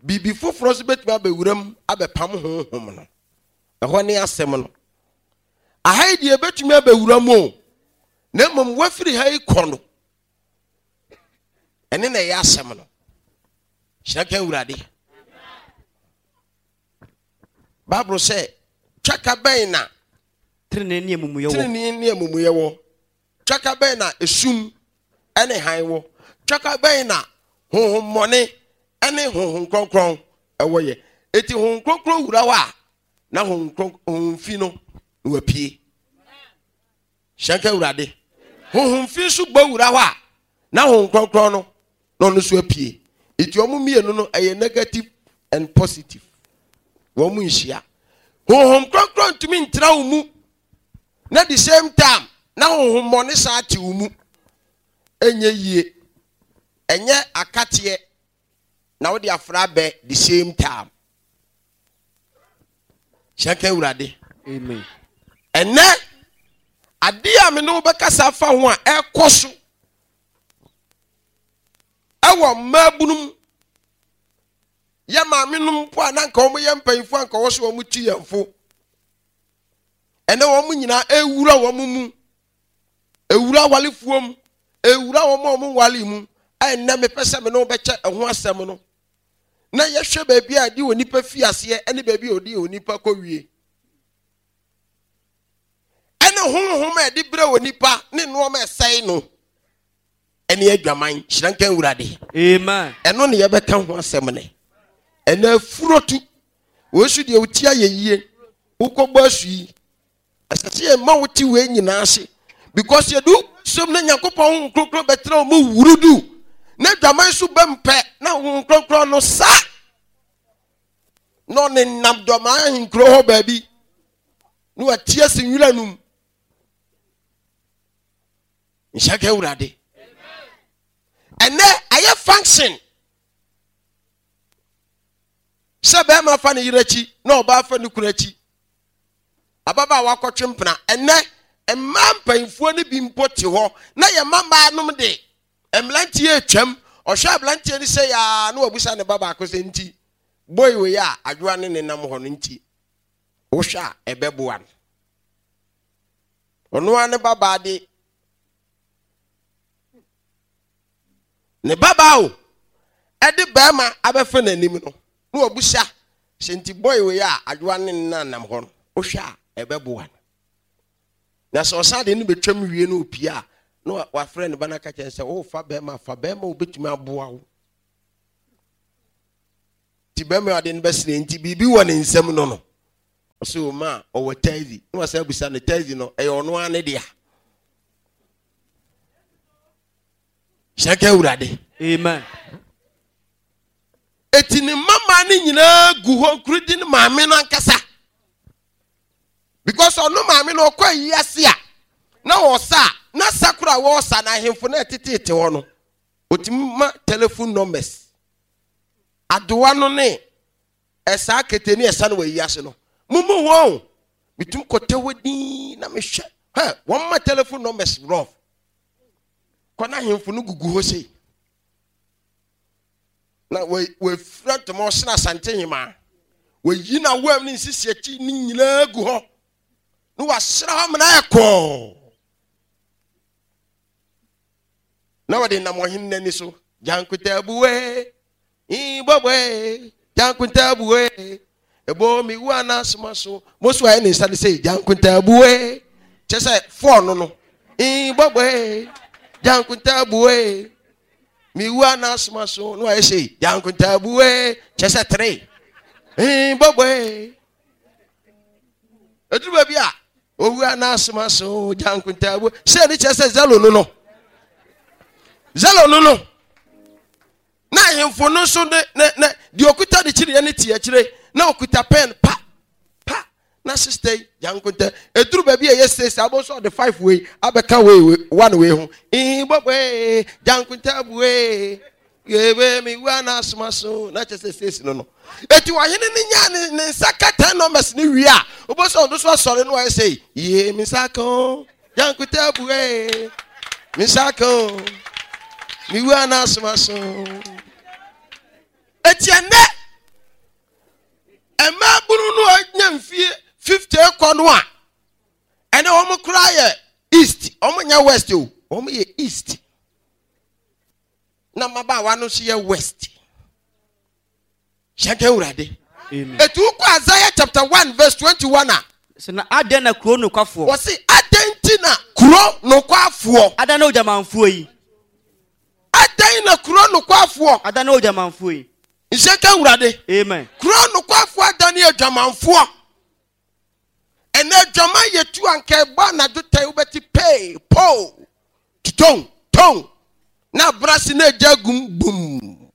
biribi foforɔ nso bɛtumi abɛwura mu abɛpam honhom no. Ɛhɔ ne asɛm no. Aha yi deɛ, ɛbɛtumi abɛwura mu o, na mmom wafiri ha yi kɔ no, ɛne na ɛyɛ asɛm no. Hyerɛ ka Awurade. Bible sɛ twaka bɛn na tenenee ne amumuyɛ wɔ? Tenenee ne amumuyɛ wɔ. Twaka bɛn na esum ɛne han wɔ? Twaka bɛn na honhommɔne ɛne Honhom Kronkron ɛwɔ yɛ? Eti Honhom Kronkron wura hɔ a, na honhom kronkron, honhom fi no na wapue. Hyɛnka Awurade. Honhom fi nso bɔ wura hɔ a, na Honhom Kronkron no na ɔno nso apue. Eti wɔn mmienu no ɛyɛ negative and positive, wɔn mu nhyia. Honhom Kronkron ntumi ntena wo mu na the same time na honhom mmɔne saa te wo mu. Ɛnyɛ yie. Ɛnyɛ akateɛ na wode afra bɛ the same time. Hyɛnka Awurade. Amen. Ɛnɛ adeɛ a me ne wo bɛkasa afa ho a ɛkɔ so ɛwɔ mmaabunum, yɛ maame nom mpo a na nka wɔn yɛ mpanyinfoɔ a nka wɔ so wɔn ti yɛn fo, ɛnɛ wɔn nyinaa ewura wɔn mu, ewura awalefoɔ mu, ewura wɔn a wɔn wale mu. Ɛnɛ mepɛ sɛ me ne wo bɛkyɛ ɛho asɛm no na yɛhwɛ baabi a yɛde onipa fi aseɛ ɛne baabi a ɔde onipa kɔ wie, ɛne honhom a yɛde brɛ onipa ne nneɛma ɛsɛe no, ɛne adwaman. Hyerɛ nka Awurade. Amen. Ɛno ne yɛbɛka ho asɛm ne ɛnɛ. Afuro tu wei so deɛ, wotia yɛ yie, wokɔbɔ asu yi, ɛsɛ sɛ yɛma wo te wei nyinaa ase, because yɛde wo som na Nyankopɔn Honhom Kronkron bɛtena wo mu wurudu na adwaman so bɛmpɛ na Honhom Kronkron no sa na ɔne nam dɔmaa ahenkuro hɔ baabi na wate ase nwura no mu. Nhyɛ ka Awurade. Ɛnɛ ayɛ function sɛ bɛrima fa ne yere akyi na ɔbaa fa ne kunu akyi. Ababaawa akɔtwe mpena. Ɛnɛ mmaa mpanyinfoɔ no bi mpo te hɔ na yɛ mma mmaa nom de mmeranteɛ atwam. Ɔhwɛ aberanteɛ no sɛ yaa na wabusa ne ba baako sɛ, nti boy wei a adwoa ne ne nam hɔ no, nti wohwɛ a ɛbɛboa no? Ɔno ara ne babaa de Ne babaa o, ɛde bɛrima abɛfa n'anim no, na wabusa sɛ nti boy wei a Adwoa ne ne nanam hɔ no, wohwɛ a ɛbɛboa no. Na sɛ ɔsan de no bɛtwam wie no opie a, na wafrɛ ne ba no aka kyerɛ sɛ wofa bɛrima, fa bɛrima a wobɛtumi aboa wo. Nti bɛrima a ɔde no bɛsene nti biribi wɔ ne nsam no no. Ɔsɛ o ma ɔwɔ taxi, na wasan abusa no taxi no ɛyɛ ɔno ara ne dea. Hyɛnka Awurade. Amen. Eti ne mmammaa no nyinaa gu hɔ nkurudi ne maame no ankasa. Because ɔno maame no ɔkɔ ayi ase a na ɔsa a na sakora a wɔresa na ahemfo na ɛteteete hɔ no otumi ma telephone numbers. Adowa no ne ɛsaa kete ne ɛsa no wɔ ayi ase no mumu wɔn metum kɔtɛ hɔ din na mehwɛ hɛ wɔn ma telephone numbers rough kɔ na ahemfo no gugu hɔ sei na wɔafira ntoma ɔsena Asante hemaa wɔyi na wɔam ne nsisi akyi ne nyinaa gu hɔ na wɔasra hɔ amena ayɛ kɔɔ na wɔde nam ɔhene n'ani so gyankotabuwe bɔbɔe gyankotabuwe ebo mi wu anasoma so mo so ayɛ ne nsa ne sɛ gyankotabuwe kyɛ sɛ fɔɔ no no bɔbɔe gyankotabuwe mi wu anasoma so na wayɛ sɛ gyankotabuwe kyɛ sɛ tere bɔbɔe eduru baabi a owu anasoma so gyankotabuwe sɛ ne kyɛ sɛ zelo no no zelo no no na ahemfo no nso ne ne ne deɛ okuta ne kyiriɛ ne te akyire na okuta pɛn pa pa na sista yi gyankonta eduru baabi a ɛyɛ six abo nso ɔde five wei abɛka wei one wei ho bɔbɔe gyankonta bue yebe mi wu anasoma so na kyɛ sɛ six no no eti ɔhene ne nya ne ne nsa ka ten numbers ne wie a obo sɛ ɔno so asɔre no ayɛ sɛ yie mi nsa ka o gyankonta bue mi nsa ka o mi wu anasoma so eti ɛnɛ mmaa bunu no anya mfie fifty kɔ no a ɛnɛ wɔn koraa yɛ east, wɔn nyɛ west o, wɔn yɛ east na mmabaawa no nso yɛ west. Hyɛnka Awurade. Etu kɔ Isaiah chapter one verse twenty-one a. Sɛ na adɛn na kuro nokwafoɔ. Wɔsi adɛn ti na kuro nokwafoɔ. Adɛn na odwamanfoɔ yi. Adɛn na kuro nokwafoɔ. Adɛn na odwamanfoɔ yi. Nhyɛnka Awurade. Amen. Kuro nokwafoɔ adane adwamanfoɔ. Ɛnɛ adwaman yɛ tu anka ɛbɔ anadwo tɛn wobɛte pee po tutɔn tɔn na abrase na agya gum bum.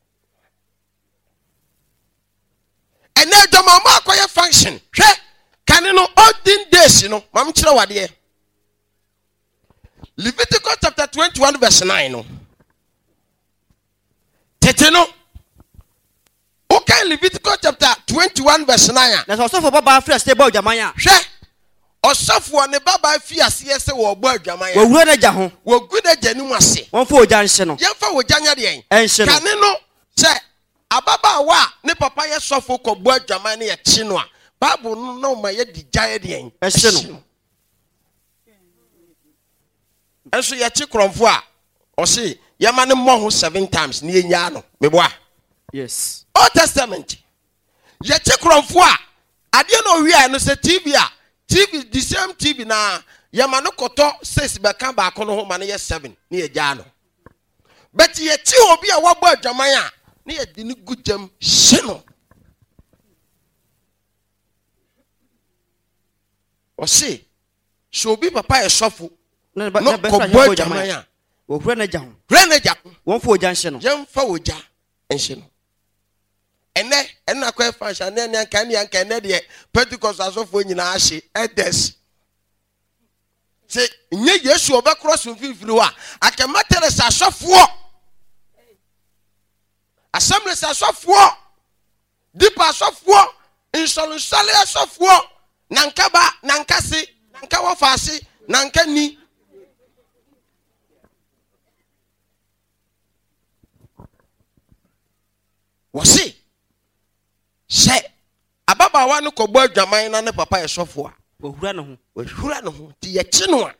Ɛnɛ adwamanfoɔ akɔyɛ function hwɛ kane no olden days no maame kyerɛ wadeɛ. Leviticus chapter twenty-one verse nine no. Tete no. Okay, Leviticus chapter twenty-one verse nine. Na sɛ ɔsɔfo babaa fi ase bɔ adwaman a. Hwɛ, ɔsɔfo ne babaa fi ase sɛ wɔbɔ adwaman a. Wɔwura n'agya ho. Wɔgu n'agya anim ase. Wɔmfa ogya nhye no. Yɛmfa ogya nyɛ deɛn? Ɛnhye no. Kane no sɛ ababaawa a ne papa yɛ sɔfo kɔbɔ adwaman ne yɛkye no a, Bible no na ɔma yɛde gya yɛ deɛn? Ɛhye no. Ɛnso yɛkye korɔmfo a, ɔse yɛma ne mmɔ ho seven times ne yɛnyaa no. Meboa. Yes. Old Testament. Yɛkye korɔmfo a, adeɛ na owia no sɛ T V a, T V the same T V na yɛma no kɔtɔ six bɛka baako no ho ma no yɛ seven ne yɛgyaa no. But yɛkye obi a wabɔ adwaman a, ne yɛde ne gu gyam hye no. Ɔse sɛ obi papa yɛ sɔfo na kɔbɔ adwaman a, wɔhura n'agya ho. Hura n'agya ho. Wɔmfa ogya nhye no. Yɛmfa ogya nhye no. Ɛnɛ ɛna akɔyɛ function ne ɛne anka ne anka ɛnɛ deɛ Pentecost asɔfoɔ nyinaa ahye elders. Sɛ nyɛ Yesu ɔbɛkorɔ so mfimfini hɔ a, anka Methodist asɔfoɔ, Assemblies asɔfoɔ, Deeper asɔfoɔ, nsɔlensɔle asɔfoɔ, nanka ba, nanka se, nanka wɔfa ase, nanka ni. Wɔse sɛ ababaawa no kɔbɔ adwaman na ne papa yɛ sɔfo a, wɔhura ne ho. Wɔhura ne ho nti yɛkye no a,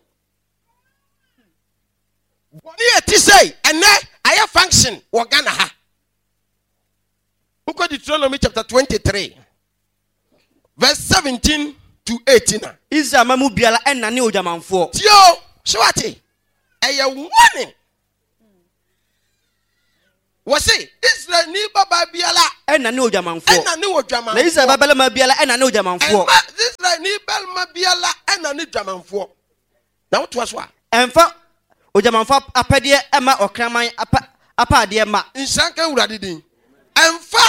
Bɔne yɛ ti sɛ ɛnɛ ayɛ function wɔ Ghana ha. Wokɔ Deuteronomy chapter twenty-three verse seventeen to eighteen a. Israel ma mu biara ɛna ne odwamanfoɔ. Tio, so wate, ɛyɛ warning. Wɔse Israel ni baba biara ɛna ne odwamanfoɔ. Ɛna ne odwamanfoɔ. Na Israel babarima biara ɛna ne odwamanfoɔ. Ɛma Israel ni barima biara ɛna ne dwamanfoɔ. Na wotoa so a. Ɛmfa odwamanfoɔ apɛdeɛ ɛma ɔkraman apa, apaadeɛ ma. Nhyira nka Awurade din. Ɛmfa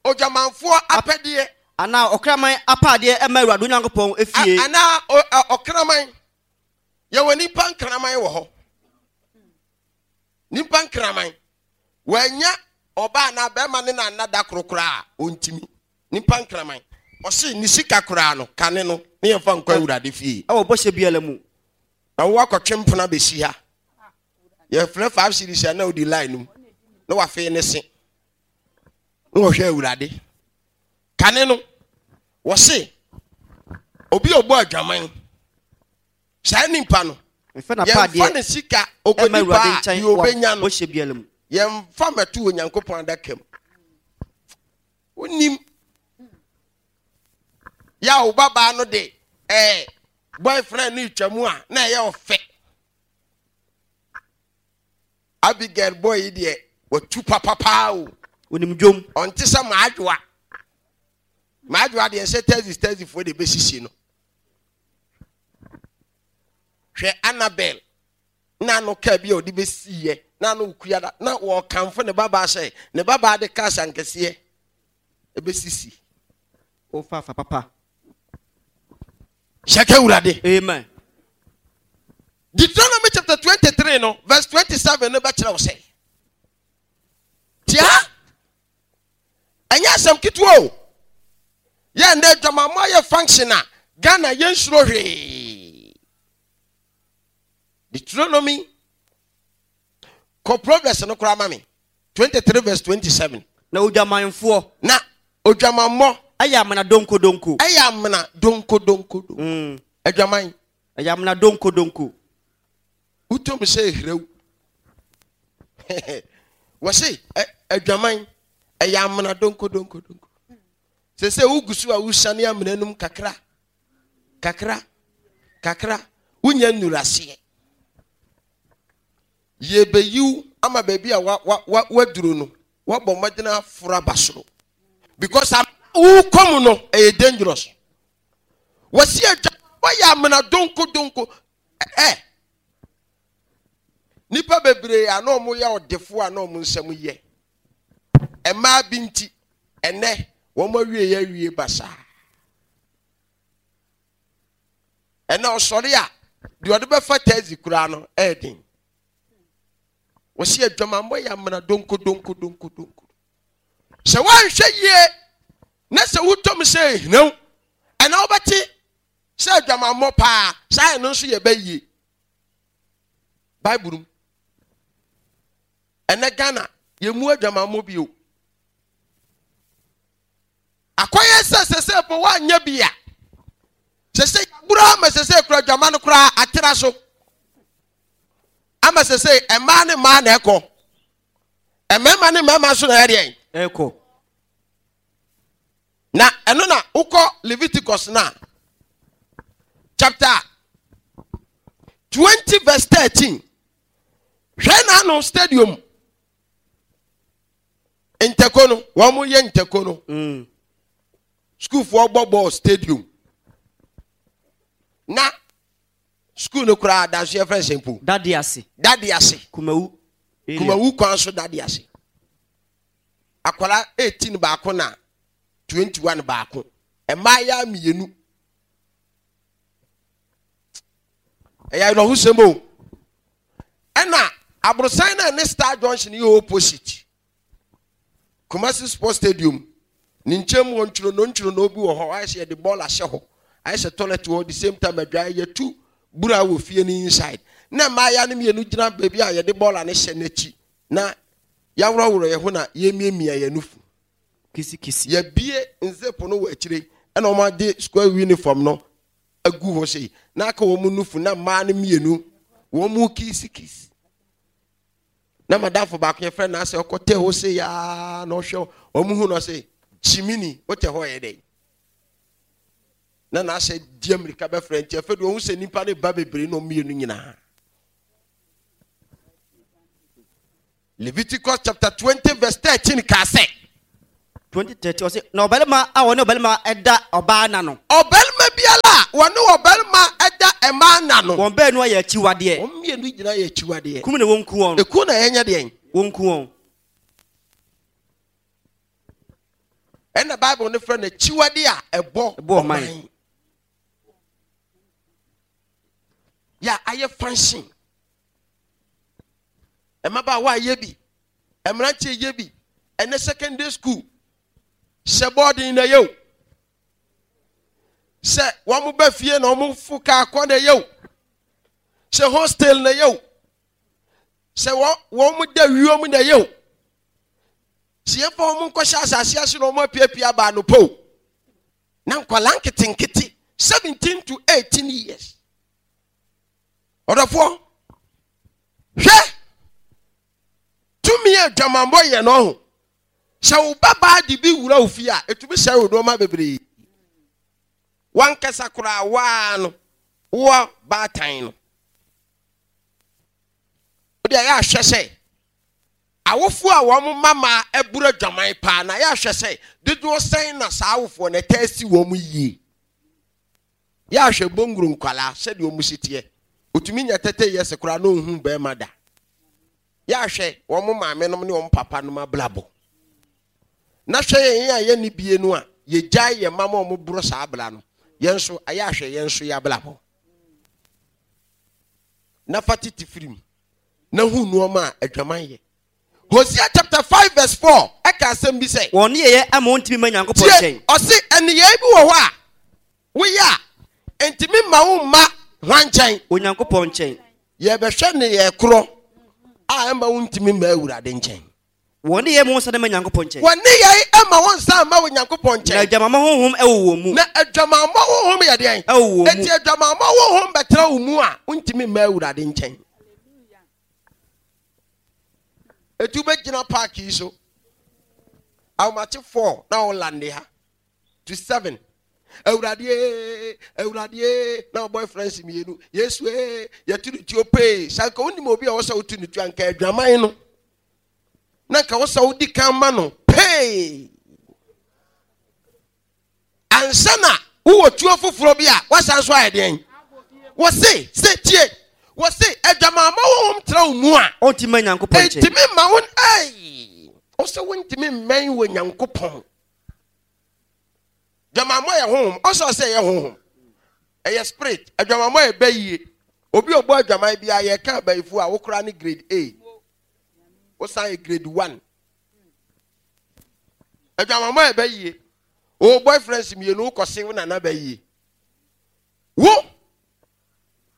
odwamanfoɔ apɛdeɛ. Anaa ɔkraman apaadeɛ ɛma Awurade Onyankopɔn efie. Anaa ɔkraman. Yɛwɔ nipa nkraman wɔ hɔ. Nipa nkraman. Wanya ɔbaa na bɛrima ne na nada korokora ontimi. Nipa nkraman. Ɔse ne sika koraa no kane no ne yɛmfa nkɔ Awurade fie. Ɛwɔ bɔhyɛ biara mu. Na wo akɔtwe mpona bɛsi ha. Yɛfrɛ five series a na odi line no mu. Na wafei ne se. Na wɔhwɛ Awurade. Kane no wɔse obi a ɔbɔ adwaman. Saa nipa no yɛmfa ne sika okodi paa deɛ obenya no. Yɛmfa mɛto Onyankopɔn adaka mu. Wonim ya wo babaa no de eh boyfriend no twa mu a na ɛyɛ ɔfɛ. Abigail boy yi deɛ watu papapaa o. Onim dwom. Ɔnte sɛ maadwoa. Maadwoa deɛ sɛ taxi taxi foɔ de bɛsisi no. Hwɛ Annabel na no kaa bi a ɔde bɛsiiɛ na no kuya da na wɔkamfo ne babaa sɛ ne babaa de kaa sankɛseɛ ɛbɛsisi. Ofa fa papa. Hyɛka Awurade. Amen. Deuteronomy chapter twenty-three no verse twenty-seven no bɛkyerɛ wo sɛ. Tia ɛnyɛ asɛm ketewa o. Yɛ ndɛ adwamammɔ ayɛ function a Ghana yɛnsuro hwee. Deuteronomy kɔ Proverbs no koraa ma me twenty-three verse twenty-seven. Na odwamanfoɔ. Na odwamammɔ. Ɛyɛ amena donko donko. Ɛyɛ amena donko donko donko. Mm. Adwaman. Ɛyɛ amena donko donko. Wotom sɛ ehrew. Wɔse adwaman ɛyɛ amena donko donko donko. Sɛ sɛ wogu so a wosane amena num kakra. Kakra. Kakra. Wonya nnuraseɛ. Yɛbɛyiw ama baabi a wa wa wa waduro no. Wabɔ mmɔden aforo aba soro. Because wokɔ mu no ɛyɛ dangerous. Wɔsi adwaman yɛ amena donko donko. Ɛ nipa bebree a na ɔmo yɛ ɔdefo a na ɔmo nsɛm yɛ. Mmaa bi nti ɛnɛ wɔn awie yɛ awie basaa. Ɛnɛ ɔsɔre a deɛ ɔde bɛfa taxi koraa no ɛyɛ den. Wɔsi adwamammɔ yɛ amena donko donko donko donko. Sɛ wɔanhwɛ yie na sɛ wotɔm sɛ ehinaw ɛna wobɛte sɛ adwamammɔ paa saa ɛno nso yɛ bɛyie. Bible mu ɛnɛ Ghana yɛmu adwamammɔ bio. Akɔyɛ sɛ sɛ sɛ po woanyɛ bi a sɛ sɛ yɛabura ama sɛ sɛ kura adwama no koraa atera so ama sɛ sɛ mmaa ne mmaa na ɛkɔ mmarima ne mmarima nso na ɛyɛ deɛn ɛkɔ. Na ɛno na wokɔ Leviticus na chapter twenty verse thirteen. Hwɛ na ano stadium ntɛko no wɔn mo yɛ ntɛko no. Mm. Sukuufoɔ bɔ bɔɔl stadium na sukuu no koraa adanso yɛ fɛn sɛn po. Dade ase. Dade ase. Kumawu. Kumawu kwan so dade ase. Akwara eighteen baako na twenty-one baako. Mmaa mmienu. Ɛyɛ awerɛhosɛm o. Ɛna aborosan na ne Star Junction yɛ opposite. Kumasi Sports Stadium. Ne nkyɛn mu wɔ ntwirono ntwirono bi wɔ hɔ. Ayɛ sɛ yɛde bɔɔl ahyɛ hɔ. Ayɛ sɛ toilet wɔ the same time adwa yɛtu bura wɔ fie no inside. Na mmaa no mmienu gyina baabi a yɛde bɔɔl no hyɛ n'akyi. Na yɛaworɔworɔ yɛn ho na yɛmiamia yɛn nufu. Kisi kisi. Yɛbie nzepo no wɔ akyire ɛna wɔn ade square uniform no agu hɔ sei. Na aka wɔn nufu na mmaa no mmienu wɔn mu kisi kisi. Na madamfo baako yɛfrɛ no asɛ ɔkɔtɛ hɔ se yaa na ɔhwɛ ɔmo hu no ɔse gyimini wote hɔ yɛ dɛn na n'asɛ di amirika bɛfrɛ nti afei deɛ ɔhu sɛ nipa ne ba bebree na ɔmmienu nyinaa. Leviticus chapter twenty verse thirteen kaa sɛ twenty thirteen ɔsɛ na ɔbarima a wɔne ɔbarima ɛda ɔbaa na no. Ɔbarima biara a wɔne ɔbarima ɛda mmaa na no. Wɔn baanu ayɛ akyiwadeɛ. Wɔn mmienu nyinaa yɛ akyiwadeɛ. Kum na wɔnku wɔn. Eku na yɛnyɛ deɛn? Wɔnku wɔn. Ɛna Bible no frɛ no akyiwadeɛ a ɛbɔ ɔman. Yɛ ayɛ fansin. Mmabaawa ayɛ bi, mmeranteɛ yɛ bi, ɛnɛ secondary school hyɛ bɔɔden na yɛ o. Sɛ wɔn ba fie na wɔn fo kaa kɔ na yɛ o. Sɛ hostel na yɛ o. Sɛ wɔn wɔn da wiem na yɛ o. Sɛ yɛfa wɔn nkɔhyɛ asase ase na wɔn apiapia aba anɔpa o. Na nkwadaa nketenkete seventeen to eighteen years. Ɔdɔfoɔ, hwɛ tumi a adwamammɔ yɛ no ho. Sɛ wo babaa de bi wura wo fie a, ɛtumi sɛe wo nneɛma bebree. Wankasa koraa waa no, wowɔ baatan no. Wode ayɛ ahwɛ sɛ awofoɔ a wɔn mama abura adwaman paa na ayɛ ahwɛ sɛ dodoɔ sɛn na saa awofoɔ no ɛtaa si wɔn yie. Yɛ ahwɛ bongoro nkwalaa sɛdeɛ wɔn si teɛ. Otumi nya tɛtɛ yɛ sɛ koraa na ohun bɛrima da. Yɛ ahwɛ wɔn maame nom ne wɔn papa nom abrabɔ. Na hwɛ yɛn a yɛn ni bie no a yɛgyae yɛn mma ma wɔn boro saa abla no. Yɛn nso ayɛ ahwɛ yɛn nso yɛ abrabɔ. Na fa tete firim na hu nneɛma a adwaman yɛ. Hosea chapter five verse four ɛka asɛm bi sɛ. Wɔn nneyɛeɛ ama wɔntumi mma Nyankopɔn nkyɛn. Ɔse nneyɛe bi wɔ hɔ a woyɛ a ntumi mma wo mma hwan nkyɛn? Onyankopɔn nkyɛn. Yɛbɛhwɛ nneyɛe korɔ a ɛmma wo ntumi mma Awurade nkyɛn. Wɔn nneyɛe ma wɔn nsa mma Nyankopɔn nkyɛn. Wɔn nneyɛe ma wɔn nsa mma Onyankopɔn nkyɛn. Na adwamammɔ honhom ɛwɔ wɔn mu. Na adwamammɔ honhom yɛ deɛn? Ɛwɔ wɔn mu. Enti adwamammɔ honhom bɛtena wo mu a wontumi mma Awurade nkyɛn. Eti wobɛgyina park yi so ahomakye four na wo lande ha to seven. Awurade ee, Awurade ee, na wo boyfriends mmienu, Yesu ee, yɛtu ne tuo pee. Sɛ anka wonim obi a wɔsɛ wotu ne tuo anka adwaman no. Na anka wɔsɛ wodi kan ma no pee. Ansa na wowɔ tuo foforɔ bi a wasan so ayɛ deɛn? Wɔse sɛ tie, wɔse adwamammɔ honhom tena wo mu a ɔntumi mma Nyankopɔn nkyɛn. Ntumi mma wo, ei, ɔsɛ wontumi mmɛn wɔ Nyankopɔn. Adwamammɔ yɛ honhom, ɔsɛ ɔsɛ ɛyɛ honhom, ɛyɛ spirit. Adwamammɔ yɛ bɛyie. Obi a ɔbɔ adwaman bi a yɛka abayifo a wokora ne grade A, wosan yɛ grade one. Adwamammɔ yɛ bɛyie. Wo boyfriends mmienu wokɔse wo nana bɛyie. Wo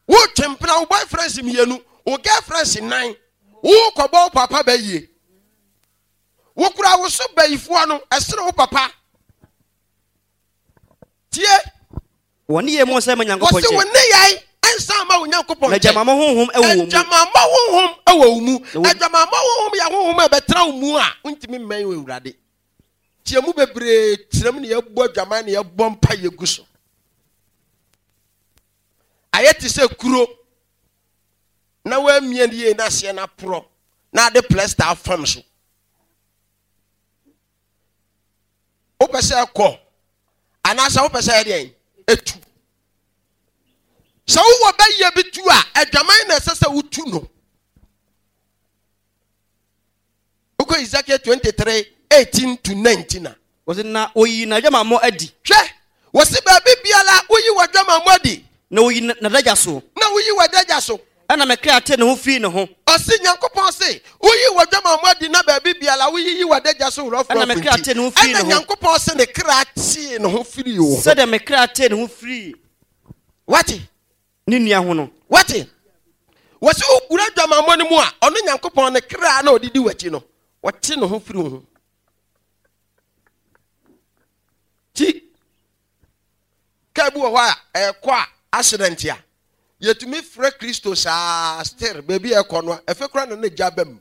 wo twempena wo boyfriends mmienu, wo girlfriends nnan, wo kɔbɔ wo papa bɛyie. Wo kura wo so bayifoɔ no ɛsere wo papa. Tie. Wɔn nneyɛe mu nsa ma Nyankopɔn Wɔse nkyɛn. wo nneyɛe nsa ma wo Nyankopɔn Na nkyɛn. adwamammɔ honhom ɛwɔ wɔn mu. Adwamammɔ honhom ɛwɔ wo mu. Na wɔn Adwamammɔ honhom yɛ honhom a ɛbɛtena wo mu a wontumi mmɛn wɔ Awurade. Tie mu bebree tenam ne yɛbɔ adwaman ne yɛbɔ mpa yɛgu so. Ayɛ te sɛ kuro na woamia ne yie na aseɛ no aporɔ na ade plasta afam so. Wopɛ sɛ ɛkɔ anaasɛ wopɛ sɛ ɛdeɛn? Ɛtu. Sɛ wowɔ bɛyɛ bi tu a, adwaman na ɛsɛ sɛ wotu no. Wokɔ Ezekiel twenty-three eighteen to nineteen a. Wɔse na oyi n'adwamammɔ adi. Hwɛ, wɔse baabi biara woyi w'adwamammɔ adi. Na oyi n'adagya so. Na woyi w'adagya so. Ɛna me kra te ne ho firi ne ho. Ɔse Nyankopɔn se woyi w'adwamammɔ adi na baabi biara woyiyi w'adagya so worɔfo Ɛna me kra te ne ho firi ne Ɛna ho. Nyankopɔn se ne kra tee ne ho firi wo ho. Sɛdeɛ me kra tee ne ho firi Wate? ne nua ho no. Wate? Wɔse wowura adwamammɔ no mu a, ɔno Nyankopɔn ne kra na ɔde di w'akyi no, ɔte ne ho firi wo ho. Ti kaa bi wɔ hɔ a ɛkɔ a accident a yɛtumi frɛ Kristo saa still baabi a ɛkɔ no a ɛfɛ kora na ne gya ba mu.